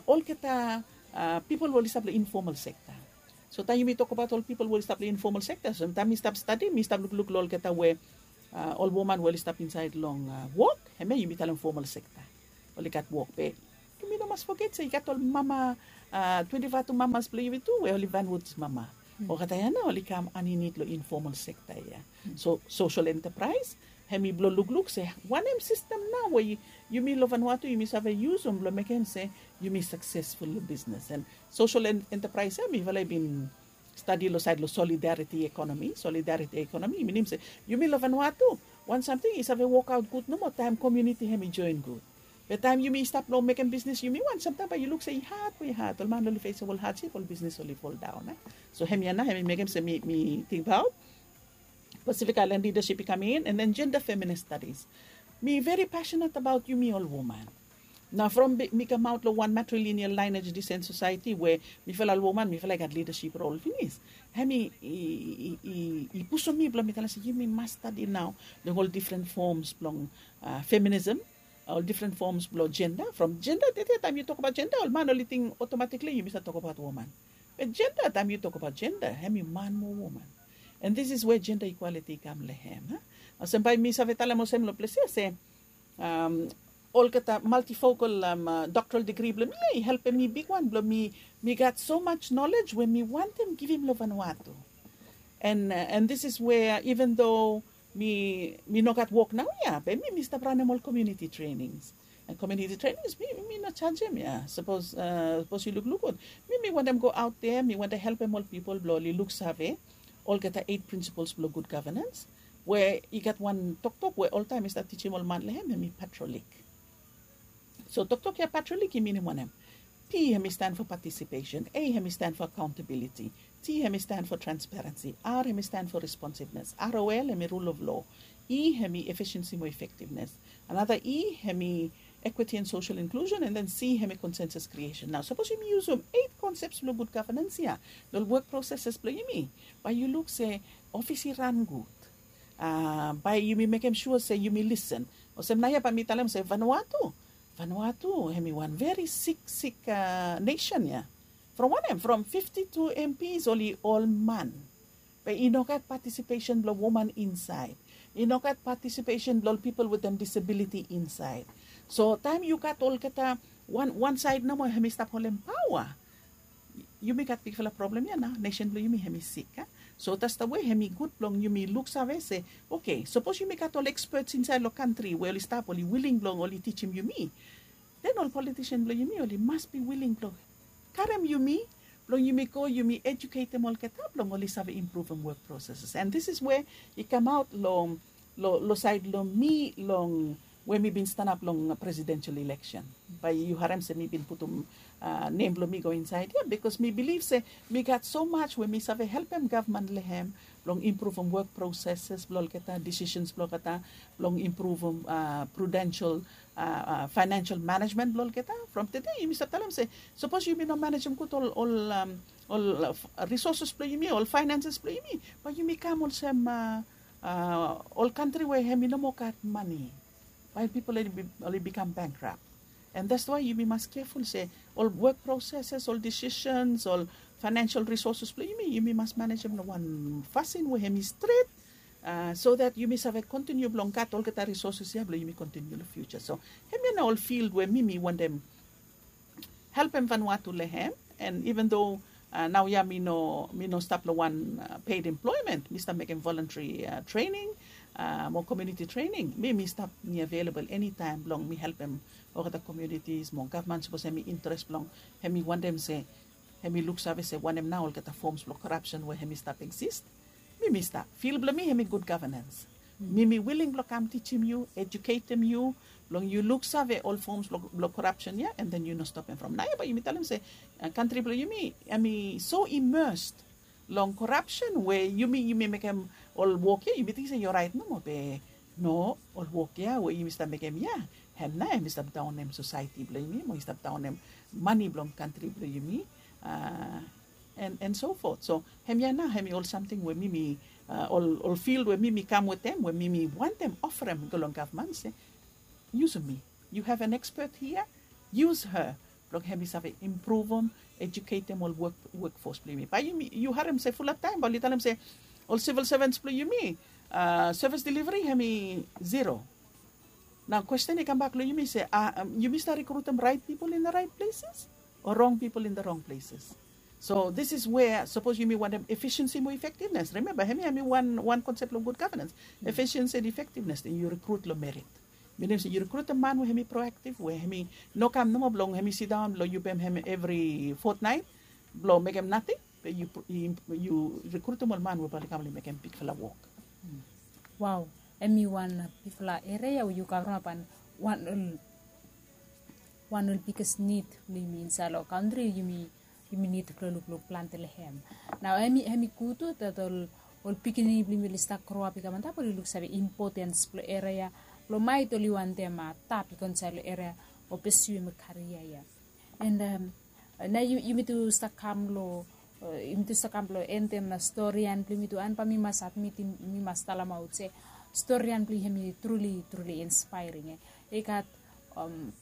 olgeta pipol we oli stap long informal sekta. So taem yumi tokbaot ol pipol we oli stap long informal sekta, so taem mi stap stadi mi stap lukluk long olgeta we ol woman we oli stap insaed long wok, hemia yumi talem formal sekta. Oli gat wok be yumi no mas foget se i gat ol mama, twenti faiv tu mamas blong yumi tu we oli vanwuds mama. Olgeta ya nao oli kam aninit long informal sekta ya. So sosol entapraes, hemi blong lukluk se wanem sistem nao we yumi long vanua tu yumi save yusum blong mekem se yumi saksesful long bisnes. An sosol entapraes ya mifala i bin stadi long saed long solidariti ekonomi. Solidariti ekonomi i minim se yumi long vanua tu wan samting i save wokaot gud nomo taem komiuniti hemi joen gud. Be taem yumi stap long mekem bisnes yumi wan samtaem bae yu luk se i had we i had ol man oli fesem ol hadsip ol bisnes oli foldaon. So hemia nao hemi mekem se mi tingbaot Pacific Island lidasip i kam in an den jenda feminis stadis. Mi veri pasinat abaot yumi ol woman. Nao from mi kamaot long wan matrilineal laenaj disen sosaeti we mifala ol woman mifala i gat lidasip rol finis, hemi i pusum mi blong mi talem se yumi mas stadi nao long ol difren foms blong feminism, ol difren foms blong jenda. From jenda tete taem yu tokbaot jenda ol man oli ting otomatikli yumi save tokbaot woman. Be jenda taem yu tokbaot jenda hemi man mo woman. An dis is we jenda ikwaliti i kam long hem. Olsem bae mi save talem olsem long ples ya se olgeta maltifokal doktoral digri blong mi ya i helpem mi bigwan blong mi gat so maj nolej we mi wantem givim long vanua tu. An dis is we iven do mi no gat wok naoia be mi mi stap ranem ol komiuniti trenings. An komiuniti trenings mi no jajem ya sapos yu lukluk gud. Mi mi wantem go aot de mi wantem helpem ol pipol blong oli luksave olgeta eit prinsipols blong gud gavenans, we i gat wan toktok we oltaem mi stap tijim ol man long hem hemi patrolik. So toktok ya patrolik i minim wanem? P hemi stan fo patisipesen, a hemi stan fo akaontabiliti, t hemi stan fo transparensi, r hemi stan fo responsivnes, rol hemi rul of lo, e hemi efisiensi mo efektivnes, anata e hemi ekwiti an sosel inklusen, an den c hemi konsensus kriesen. Nao sapos yumi yusum eit konseps blong gud gavenans ya long ol wok proseses blong yumi, bae yu luk se ofis i ran gud. Bae yumi mekem sua se yumi lisen. Olsem naoia bae mi talem se vanua tu, vanua tu hemi wan veri siksik nesen ya. From wanem? From fifti tu mps oli ol man. Be i no gat patisipesen blong woman insaed. I no gat patisipesen blong ol pipol wetem disabiliti insaed. So taem yu gat olgeta wan saed nomo hemi stap holem paoa, yumi gat bigfala problem ya nao nesen blong yumi hemi sik. So dats da we hemi gud blong yumi luksave se, oke, sapos yumi gat ol ekspets insaed long kantri we oli stap oli wiling blong oli tijim yumi, den ol politisen blong yumi oli mas bi wiling blong karem yumi blong yumi go yumi ejuketem olgeta blong oli save impruvem wok proseses. An dis is we i kamaot long long saed long mi long we mi bin stanap long presidensel ileksen. Bae yu harem se mi bin putum nem blong mi go insaed ya bikos mi bilif se mi gat so maj we mi save helpem gavman long hem blong impruvem wok proseses blong olgeta, disisens blong olgeta, blong impruvem prudensel faenensel manejmen blong olgeta. From tede yumi stap talem se sapos yumi no manejem gud ol ol ol risoses blong yumi, ol faenenses blong yumi, bae yumi kam olsem ol kantri we hemi no moa gat mane. Bae pipol oli bikam bankrap. An dats wae yumi mas keful se ol wok proseses, ol disisens, ol faenensel risoses blong yumi yumi mas manejem long wan fasin we hemi stret, so dat yumi save kontiniu blong gat olgeta risoses ya blong yumi kontiniu long fiuja. So hemia nao ol fild we mi mi wantem helpem vanua tu long hem. An iven do naoia mi no mi no stap long wan ped emploemen, mi stap mekem voluntari trening mo komiuniti trening, mi mi stap mi avelabol enitaem blong mi helpem olgeta komiunitis mo gavman sapos hemi interes blong hemi wantem se hemi luksave se wanem nao olgeta foms blong korapsen we hemi stap eksis. Mi mi stap fil blong mi hemi gud gavenans. Mi mi wiling blong kam tijim yu, ejuketem yu blong yu luksave ol foms blong korapsen ya an den yu no stopem from naoia bae yumi talem se kantri blong yumi hemi so imesed long korapsen we yumi yumi mekem ol wok ya yumi ting se yu oraet nomo be no, ol wok ya we yumi stap mekem ya hem nao hemi stap daonem sosaeti blong yumi mo i stap daonem mane blong kantri blong yumi. An so fot so hemia nao hemi ol samting we mi mi ol fil we mi mi kam wetem we mi mi wantem ofarem go long gavman se, yusum mi. Yu have an ekspet hia, yus ha blong hemi save impruvum ejuketem ol wok wokfos blong yumi. Bae yumi yu harem se fulap taem bae oli talem se ol sivil sevens blong yumi, sevis deliveri hem i zero. Nao kwesten i kambak long yumi se, yumi stap rikrutim raet pipol in da raet pleses o rong pipol in da rong pleses? So dis is wea sapos yumi wantem efisiensi mo efektivnes, rememba hem ya hem i wan konsep long gud gavenans. Efisiensi and efektivnes, den yu rikrut long merit. Minim se yu rikrutim man we hem i proaktiv we hem i no kam nomo blong hem i sidaon blong yu pem hem evri fotnaet blong mekem nating. Be yu rikrutim ol man we bae oli kam oli mekem bigfala wok. Wao, hem i wan bigfala eria we yu kavremap an wan ol wan ol biges nid blong yumi insaed long kantri yumi yumi nid blong lukluk plante long hem. Nao hem i gud tu dat ol pikinini blong yumi oli stap groap i kam antap oli luksave impotens blong eria blong maet oli wantem tap i go insaed long eria o pesuim karia ya. And nao yumi tu stap kam long yumi tu stap kam blong endem storian blong yumi tu an bae mi mas admitim mi mas talemaot se storian blong hem i truli truli inspairing. I gat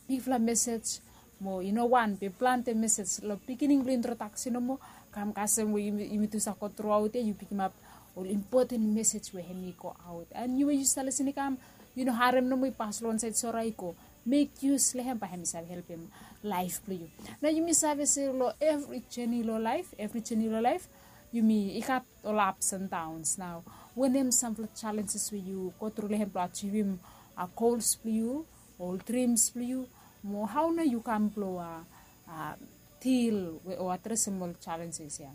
bigfala mesej mo i no wan be plante mesej long pikinini blong introdaksen nomo kam kasem we yumi tu save go truaot ya yu pikimap ol impoten mesej we hem i go aot an yu we yu stap lisin i kam yu no harem nomo i pas long wansaed sora i go mek yus long hem bae hem i save helpem laef blong yu. Nao yumi save se long evri jeni long laef evri jeni long laef yumi i gat ol ups and downs nao wanem samfala jalenjes we yu go tru long hem blong ajivim gols blong yu ol drims blong yu mo hao nao yu kam blong dil o adresem ol jalenjes ya?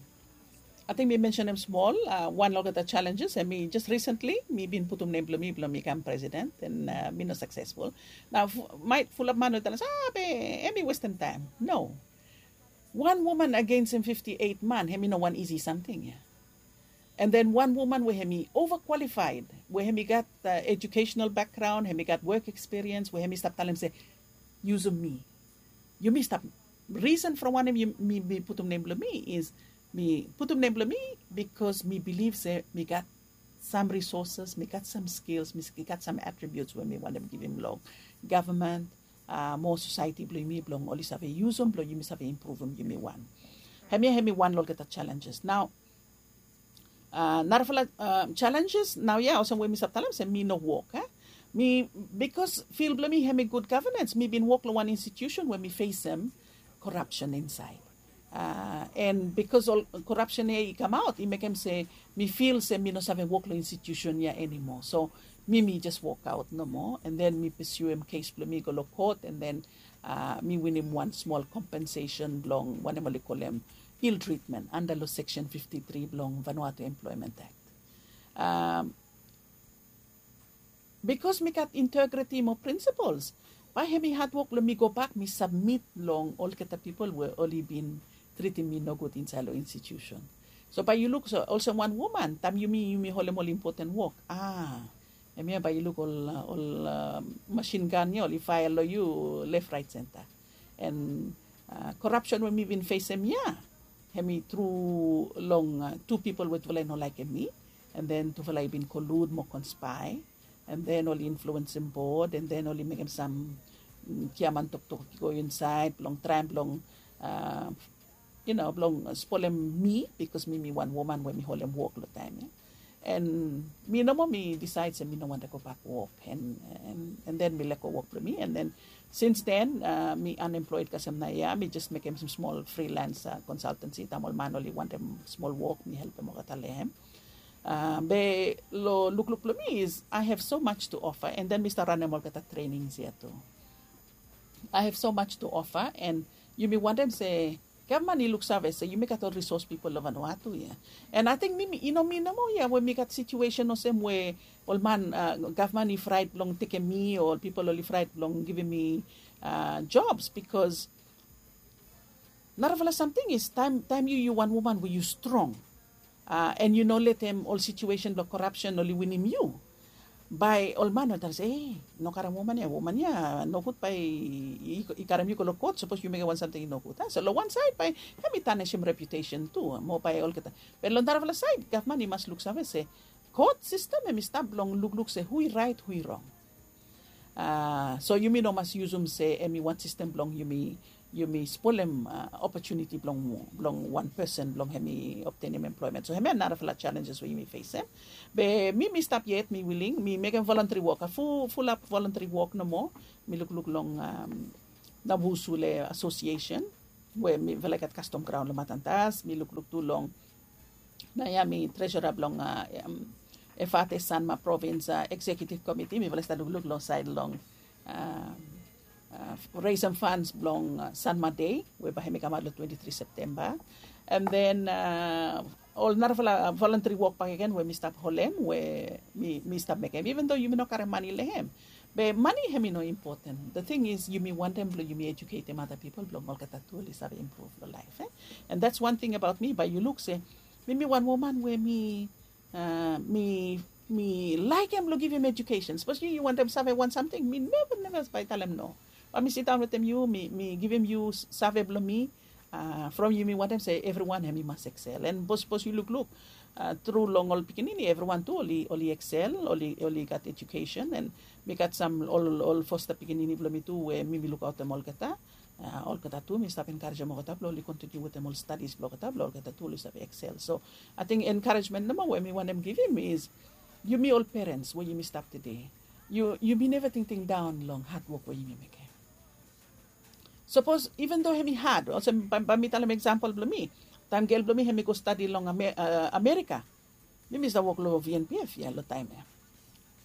Ating mi mensenem smol wan long olgeta jalenjes em i jes risentli mi bin putum nem blong mi blong mi kam presiden en mi no saksesful. Nao maet fulap man we talem se a be em i westem taem. No. Wan woman agensem fifti eit man hem i no wan isi samting ya. And then wan woman we hem i ova kwalifaed we hem i gat ejukesenal bakgraon hem i gat wok ekspiriens we hem i stap talem se yusum mi. Yumi stap risen from wanem mi putum nem blong mi is mi putum nem blong mi bikos mi bilif se mi gat sam risoses mi gat sam skils mi gat sam atribiuts we mi wantem givim long gavman mo sosaeti blong yumi blong oli save yusum blong yumi save impruvim yumi wan. Hemia hem i wan long olgeta jalenjes nao narafala jalenjes nao ya olsem we mi save talem se mi no wok. Mi bikos fil blong mi hem i gud gavenans mi bin wok long wan institiusen we mi fesem korapsen insaed. En bikos ol korapsen ya i kamaot i mekem se mi fil se mi no save wok long institiusen ya enimo so mi mi jes wokaot nomo en den mi pesuem kes blong mi i go long kot en den mi winim wan smol kompensesen blong wanem oli kolem il tritmen anda long seksen fifti tri blong vanuatu emploemen akt. Bikos mi gat integriti mo prinsipols bae hem i hadwok blong mi gobak mi sabmit long olgeta pipol we oli bin tritim mi nogud insaed long institiusen. So bae yu luk olsem wan woman taem yumi yumi holem ol impoten wok a hemia bae yu luk ol masin gan ya oli faea long yu lef raet senta. En korapsen we mi bin fesem ya hem i tru long tu pipol we tufala i no laekem mi en den tufala i bin kolud mo konspae en den oli influensem bod en den oli mekem sam giaman toktok i go insaed blong traem blong yu no blong spolem mi bikos mi mi wan woman we mi holem wok long taem ya. En mi nomo mi disaed se mi no wantem gobak wok en den mi lego wok blong mi en den sins den mi anemploed kasem nao ya mi jes mekem sam smol frilans konsaltensi taem ol man oli wantem smol wok mi helpem olgeta long hem. Be long lukluk blong mi is i have so much tu ofa en den mi stap ranem olgeta trenings ya tu. I have so much tu ofa en yumi wantem se gavman i luksave se yumi gat ol risos pipol long vanuatu ya. En ating mi i no mi nomo ya we mi gat situesen olsem we ol man gavman i fraet blong tekem mi o ol pipol oli fraet blong givim mi jobs bikos narafala samting is taem yu yu wan woman we yu strong en yu no letem ol situesen blong korapsen oli winim yu. Bae ol man oli talem se e no karem woman ya woman ya nogud bae i karem yu go long kot sapos yu mekem wan samting i nogud a so long wan saed bae hem i tanisim reputesen tu mo bae olgeta. Be long narafala saed gavman i mas luksave se kot sistem hem i stap blong lukluk se hu i raet hu i rong. So yumi no mas yusum se hem i wan sistem blong yumi yumi spolem opotuniti blong wan pesen blong hem i optenim emploemen. So hemia narafala challenges we yumi fesem. Be mi mi stap yet mi wiling mi mekem voluntary wok a fulap voluntary wok nomo. Mi lukluk long nabusule asosiesen we mifala i gat kastom graun long matantas. Mi lukluk tu long naoia mi tresora blong efate sanma provins eksekiutiv komiti. Mifala i stap lukluk long saed long resem fans blong sanma dei we bae hem i kamaot long twenti tri septemba. And then ol narafala voluntary wok bakegen we mi stap holem we mi stap mekem even do yumi no karim mani long hem. Be mani hem i no impoten. The thing is yumi wantem blong yumi ejuketem ada pipol blong olgeta tu oli save impruv long laef. And that's one thing abaot mi bae yu luk se mi mi wan woman we mi mi mi laikim blong givim ejukesen sapos yu yu wantem save wan samting mi neva neva bae talem no. Bae mi sidaon wetem yu mi mi givim yu save blong mi. From yu mi wantem se evriwan hem i mas eksel and bos bos yu lukluk tru long ol pikinini evriwan tu oli oli eksel oli oli gat ejukesen and mi gat sam ol ol fosta pikinini blong mi tu we mi mi lukaotem olgeta. Olgeta tu mi stap enkarejem olgeta blong oli kontiniu wetem ol stadis blong olgeta blong olgeta tu oli save eksel so ating enkarejemen nomo we mi wantem givim is yumi ol perens we yumi stap tede yumi neva tingting daon long hadwok we yumi mekem. Sapos even do hem i had olsem bae mi talem eksampel blong mi taem gel blong mi hem i go stadi long amerika. Mi mi stap wok long vnpf ya long taem ya.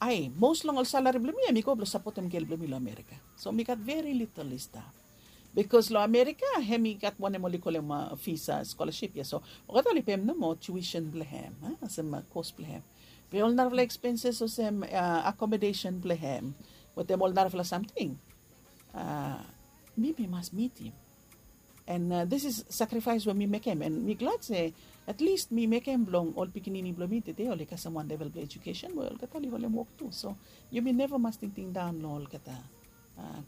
Ae mos long ol salari blong mi hem i go blong sapotem gel blong mi long amerika. So mi gat veri litel i stap bikos long amerika hem i gat wanem oli kolem visa skolasip ya so olgeta oli pem nomo tuition blong hem olsem kos blong hem. Be ol narafala ekspenses olsem akomodesen blong hem wetem ol narafala samting mi mi mas mitim. And this is sakrifaes we mi mekem and mi glad se at list mi mekem blong ol pikinini blong mi tede oli kasem wan level blong ejukesen we olgeta oli holem wok tu so yumi neva mas tingting daon long olgeta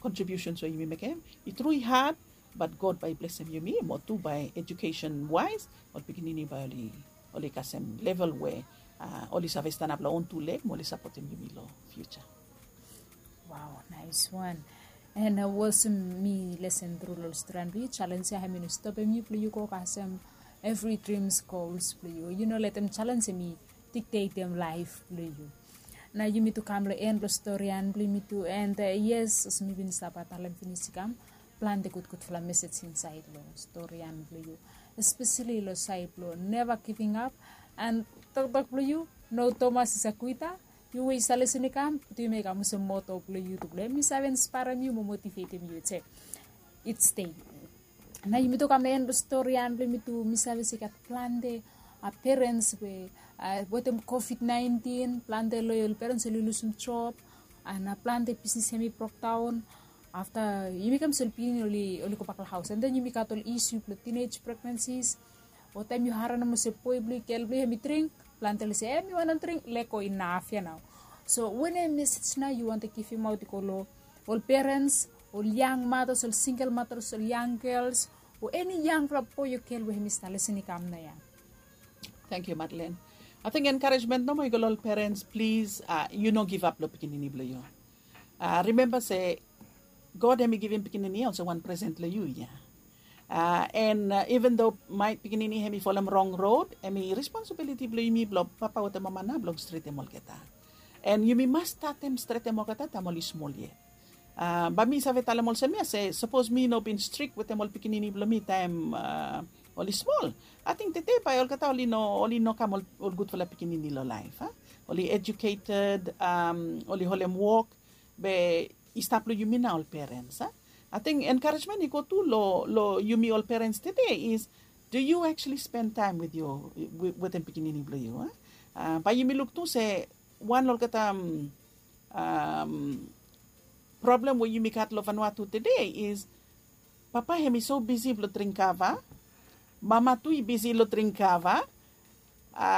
kontribiusens we yumi mekem. I tru i had bat god bae i blesem yumi mo tu bae ejukesen waes ol pikinini bae oli oli kasem level we oli save stanap long on tu leg mo oli sapotem yumi long fiuja. Wow, nais wan. And olsem mi lesen tru long storian blong yu jalenj ya hem i no stopem yu blong yu go kasem evri drims gols blong yu yu no letem jalenj hem i diktetem laef blong yu. Na yumi tu kam long en blong storian blong yumi tu and yes olsem mi bin stap talem finis i kam plante gudgudfala mesej insaed long storian blong yu espeseli long saed blong neva giving ap and toktok blong yu no tomas i sakuita. Yu we i save lesen i kam putum i kam olsem moto blong yu tu blong em i save inspaerem yu mo motivetem yu. Its dei na yumi tu kam long en blong storian blong yumi tu mi save se i gat plante perens we wetem covid nineteen plante long ol perens oli lusum job. Ana plante bisnis hem i brokdaon afta yumi kam se ol pikinini oli oli gobak long haus and then yumi gat ol isu blong tinage pregnansis o taem yu harem olsem boe blong yu gel blong yu hem i dring plante oli se em yu wantem dring lego inaf ya nao. So wanem mesej nao yu wantem givimaot i go long ol perens ol yang matas ol singel matas ol yang gels o eni yangfala boe o gel we hem i stap lesen i kam nao ya. Tangkiu madlen. Ating enkarejemen nomo i go long ol perens plis yu no givap long pikinini blong yu. Rimemba se god hem i givim pikinini ya olsem wan presen long yu ya. And even do maet pikinini hem i folem rong rod hem i responsibiliti blong yumi blong papa wetem mama nao blong stretem olgeta. And yumi mas statem stretem olgeta taem oli smol yet. Bae mi save talem olsem ya se sapos mi no bin strik wetem ol pikinini blong mi taem oli smol ating tete bae olgeta oli no oli no kam ol gudfala pikinini long laef a. Oli ejuketed oli holem wok be i stap long yumi nao ol perens a. Ating enkarejemen i go tu long yumi ol perens tede is do yu aktuali spen taem wetem pikinini blong yu a? Bae yumi luk tu se wan long olgeta problem we yumi gat long vanua tu tede is papa hem i so bisi blong dring kava. Mama tu i bisi long dring kava.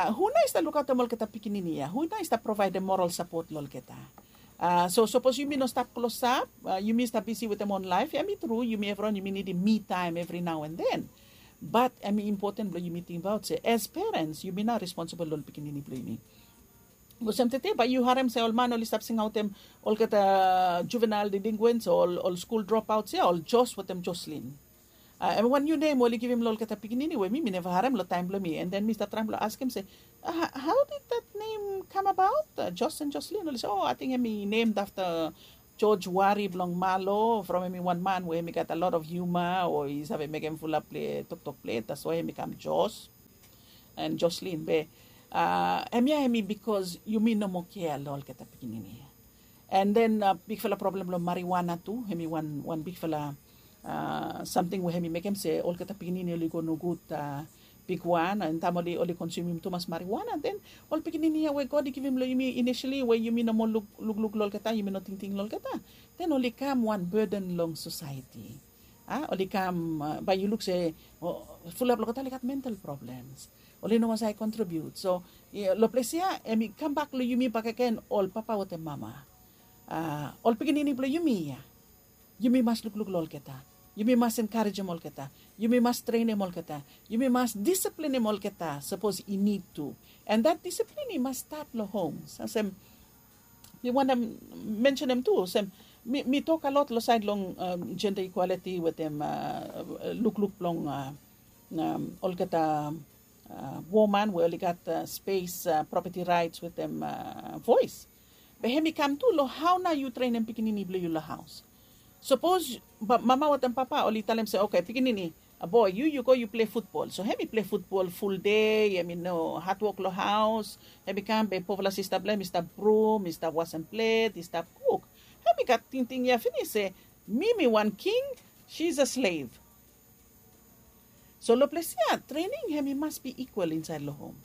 Hu nao i stap lukaotem olgeta pikinini ya hu nao i stap provaedem moral sapot long olgeta? So sapos yumi no stap klosap yumi stap bisi wetem on laef hem i tru yumi evriwan yumi nidim mi taem evri nao and then. Bat hem i impoten blong yumi tingbaot se as perens yumi nao responsibol long ol pikinini blong yumi. Olsem tete bae yu harem se ol man oli stap singaotem olgeta juvenael delinkwens o ol skul dropaots ya ol jos wetem joslin. Em wan niu nem oli givim long olgeta pikinini we mi mi neva harem long taem blong mi. And then mi stap traem blong askem se, how did that name come about? Jos and Joslin oli se, o, ating em i nemed afta George Wari blong Malo, from em i wan man we em i gat a lot of humor o i save mekem fulap toktok plet, that's why em i kam Jos and Joslin. Be hemia hem i bikos yumi no moa kea long olgeta pikinini ya. And then bigfala problem long marijuana tu, hem i wan bigfala samting we hem i mekem se olgeta pikinini oli go nogud bigwan, and taem oli konsumim tumas marijuana, then ol pikinini ya we God i givim long yumi inisili we yumi no moa lukluk long olgeta, yumi no tingting long olgeta, then oli kam wan burden long sosaeti. Oli kam, bae yu luk se fulap long olgeta oli gat mental problems. Oli no moa save kontribiut. So long ples ya hem i kambak long yumi bakegen, ol papa wetem mama, ol pikinini blong yumi ya, yumi mas lukluk long olgeta. Yumi mas enkarejem olgeta. Yumi mas trenem olgeta. Yumi mas disiplinim olgeta sapos i nid tu. And that disiplin i mas stat long homes. Olsem mi wantem mensenem tu olsem mi tok a lot long saed long jenda ikwaliti wetem lukluk blong olgeta woman we oli gat spes, propeti raets wetem voes. Be hem i kam tu long hao nao yu trenem pikinini blong yu long haos. Sapos mama wetem papa oli talem se, oke pikinini boe, yu yu go yu plei futbol. So hem i plei futbol fuldei, hem i no hatwok long haos. Hem i kam be pofala sista blong hem i stap brum, i stap wasem plet, i stap kuk. Hem i gat tingting ya finis se mi mi wan king, shi is a slev. So long ples ya trening hem i mas bi ikwal insaed long hom.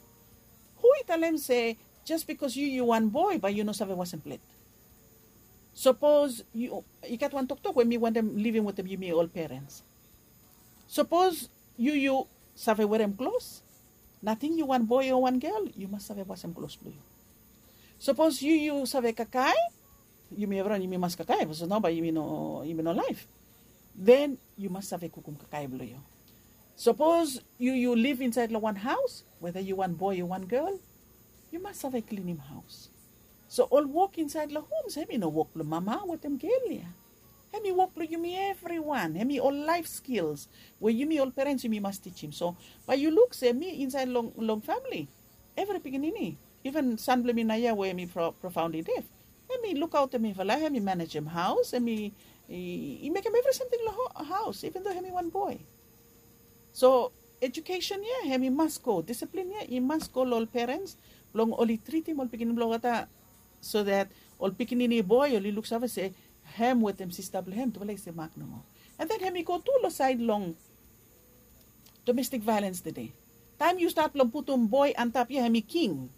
Hu i talem se jes bikos yu yu wan boe bae yu no save wasem plet? Sapos i gat wan toktok we mi wantem livim wetem yumi ol perens. Sapos yu yu save werem klos, nating yu wan boe o wan gel yu mas save wasem klos blong yu. Sapos yu yu save kakae, yumi evriwan yumi mas kakae bikos nao bae yumi no laef. Den yu mas save kukum kakae blong yu. Sapos yu yu liv insaed long wan haos, weta yu wan boe o wan gel, yu mas save klinim haos. So ol wok insaed long homs hem i no wok blong mama wetem gel ya. Hem i wok blong yumi evriwan. Hem i ol laef skils we yumi ol perens yumi mas tijim. So bae yu luk se mi insaed long famili, evri pikinini, iven san blong mi naoia we hem i profaondi def, hem i lukaotem mifala, hem i manejem haos, hem i mekem evri samting long haos iven do hem i wan boe. So ejukesen ya hem i mas go, disiplin ya i mas go long ol perens blong oli tritim ol pikinini blong olgeta, so dat ol pikinini boe oli luksave se hem wetem sista blong hem tufala i semak nomo. And then hem i go tu long saed long domestik vaelens tede. Taem yu stat blong putum boe antap ya hem i king,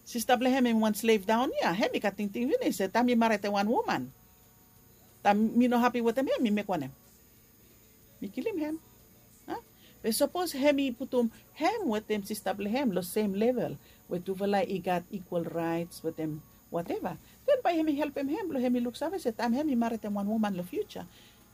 sista blong hem hem i wan slev daon ya, hem i gat tingting finis se taem mi maretem wan woman, taem mi no hapi wetem hem mi mek wanem? Mi kilim hem. Be sapos hem i putum hem wetem sista blong hem long sem level we tufala i gat ikwal raets wetem wateva, den bae hem i helpem hem blong hem i luksave se taem hem i maretem wan woman long fiuja,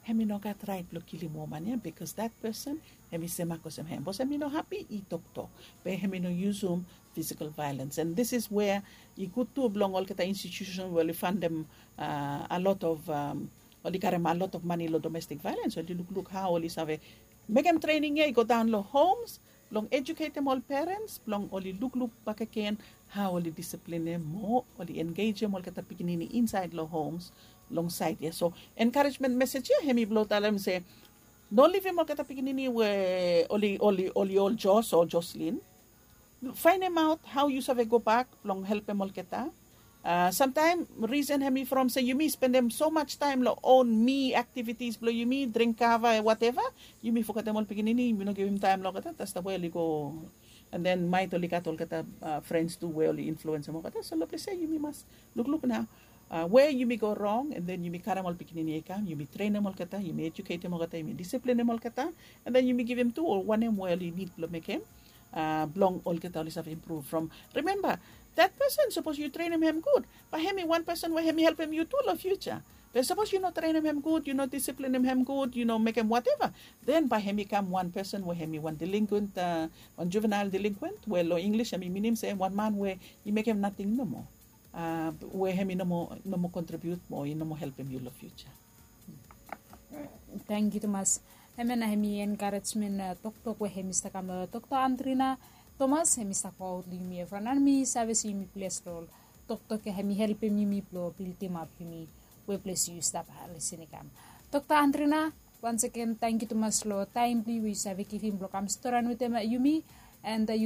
hem i no gat raet blong kilim woman ya bikos dat pesen hem i semak olsem hem bikos hem i no hapi i toktok. Be hem i no yusum fisikal vaelens. And this is where i gud tu blong olgeta institiusen we oli fandem a lot of oli karem a lot of mane long domestik vaelens, oli lukluk hao oli save mekem trening ya i go daon long homs blong ejuketem ol perens blong oli lukluk bakegen hao oli disiplinim mo oli engejem olgeta pikinini insaed long homs long saed ya. So enkarejmen mesej ya hem i blong talem se no livim olgeta pikinini we oli ol jos o joslin. Faenemaot hao yu save gobak blong helpem olgeta. Samtaem risen hem i from se yumi spendem somaj taem long on mi aktivitis blong yumi, dring kava, wateva. Yumi fogetem ol pikinini, yumi no givim taem long olgeta, tastam we oli go. And then maet oli gat olgeta frens tu we oli influensem olgeta. So long ples ya yumi mas lukluk nao we yumi go rong, and then yumi karem ol pikinini ya i kam, yumi trenem olgeta, yumi ejuketem olgeta, yumi disiplinim olgeta. And then yumi givim tu ol wanem we oli nid blong mekem blong olgeta oli save impruv from. Rimemba, dat pesen sapos yu trenem hem gud, bae hem i wan pesen we hem i helpem yu tu long fiuja. Be sapos yu no trenem hem gud, yu no disiplinim hem gud, yu no mekem wateva, den bae hem i kam wan pesen we hem i wan delinkwent, wan juvenael delinkwent we long inglis hem i minim se wan man we i mekem nating nomo, we hem i no moa kontribiut mo i no moa helpem yu long fiuja. Tangkiu tumas. Hemia na hemi encouragement toktok we hemi stap kam long Dokta Andrina Thomas, hemi stap go aut long yumi evriwan. Mi save se yumi bles long ol toktok ya, hemi helpem yumi blong bildimap yumi we ples yu stap lisin i kam. Dokta Andrina, once again, tangkiu tumas long taem blong yu we yu save givim blong kam storian wetem yumi, and yu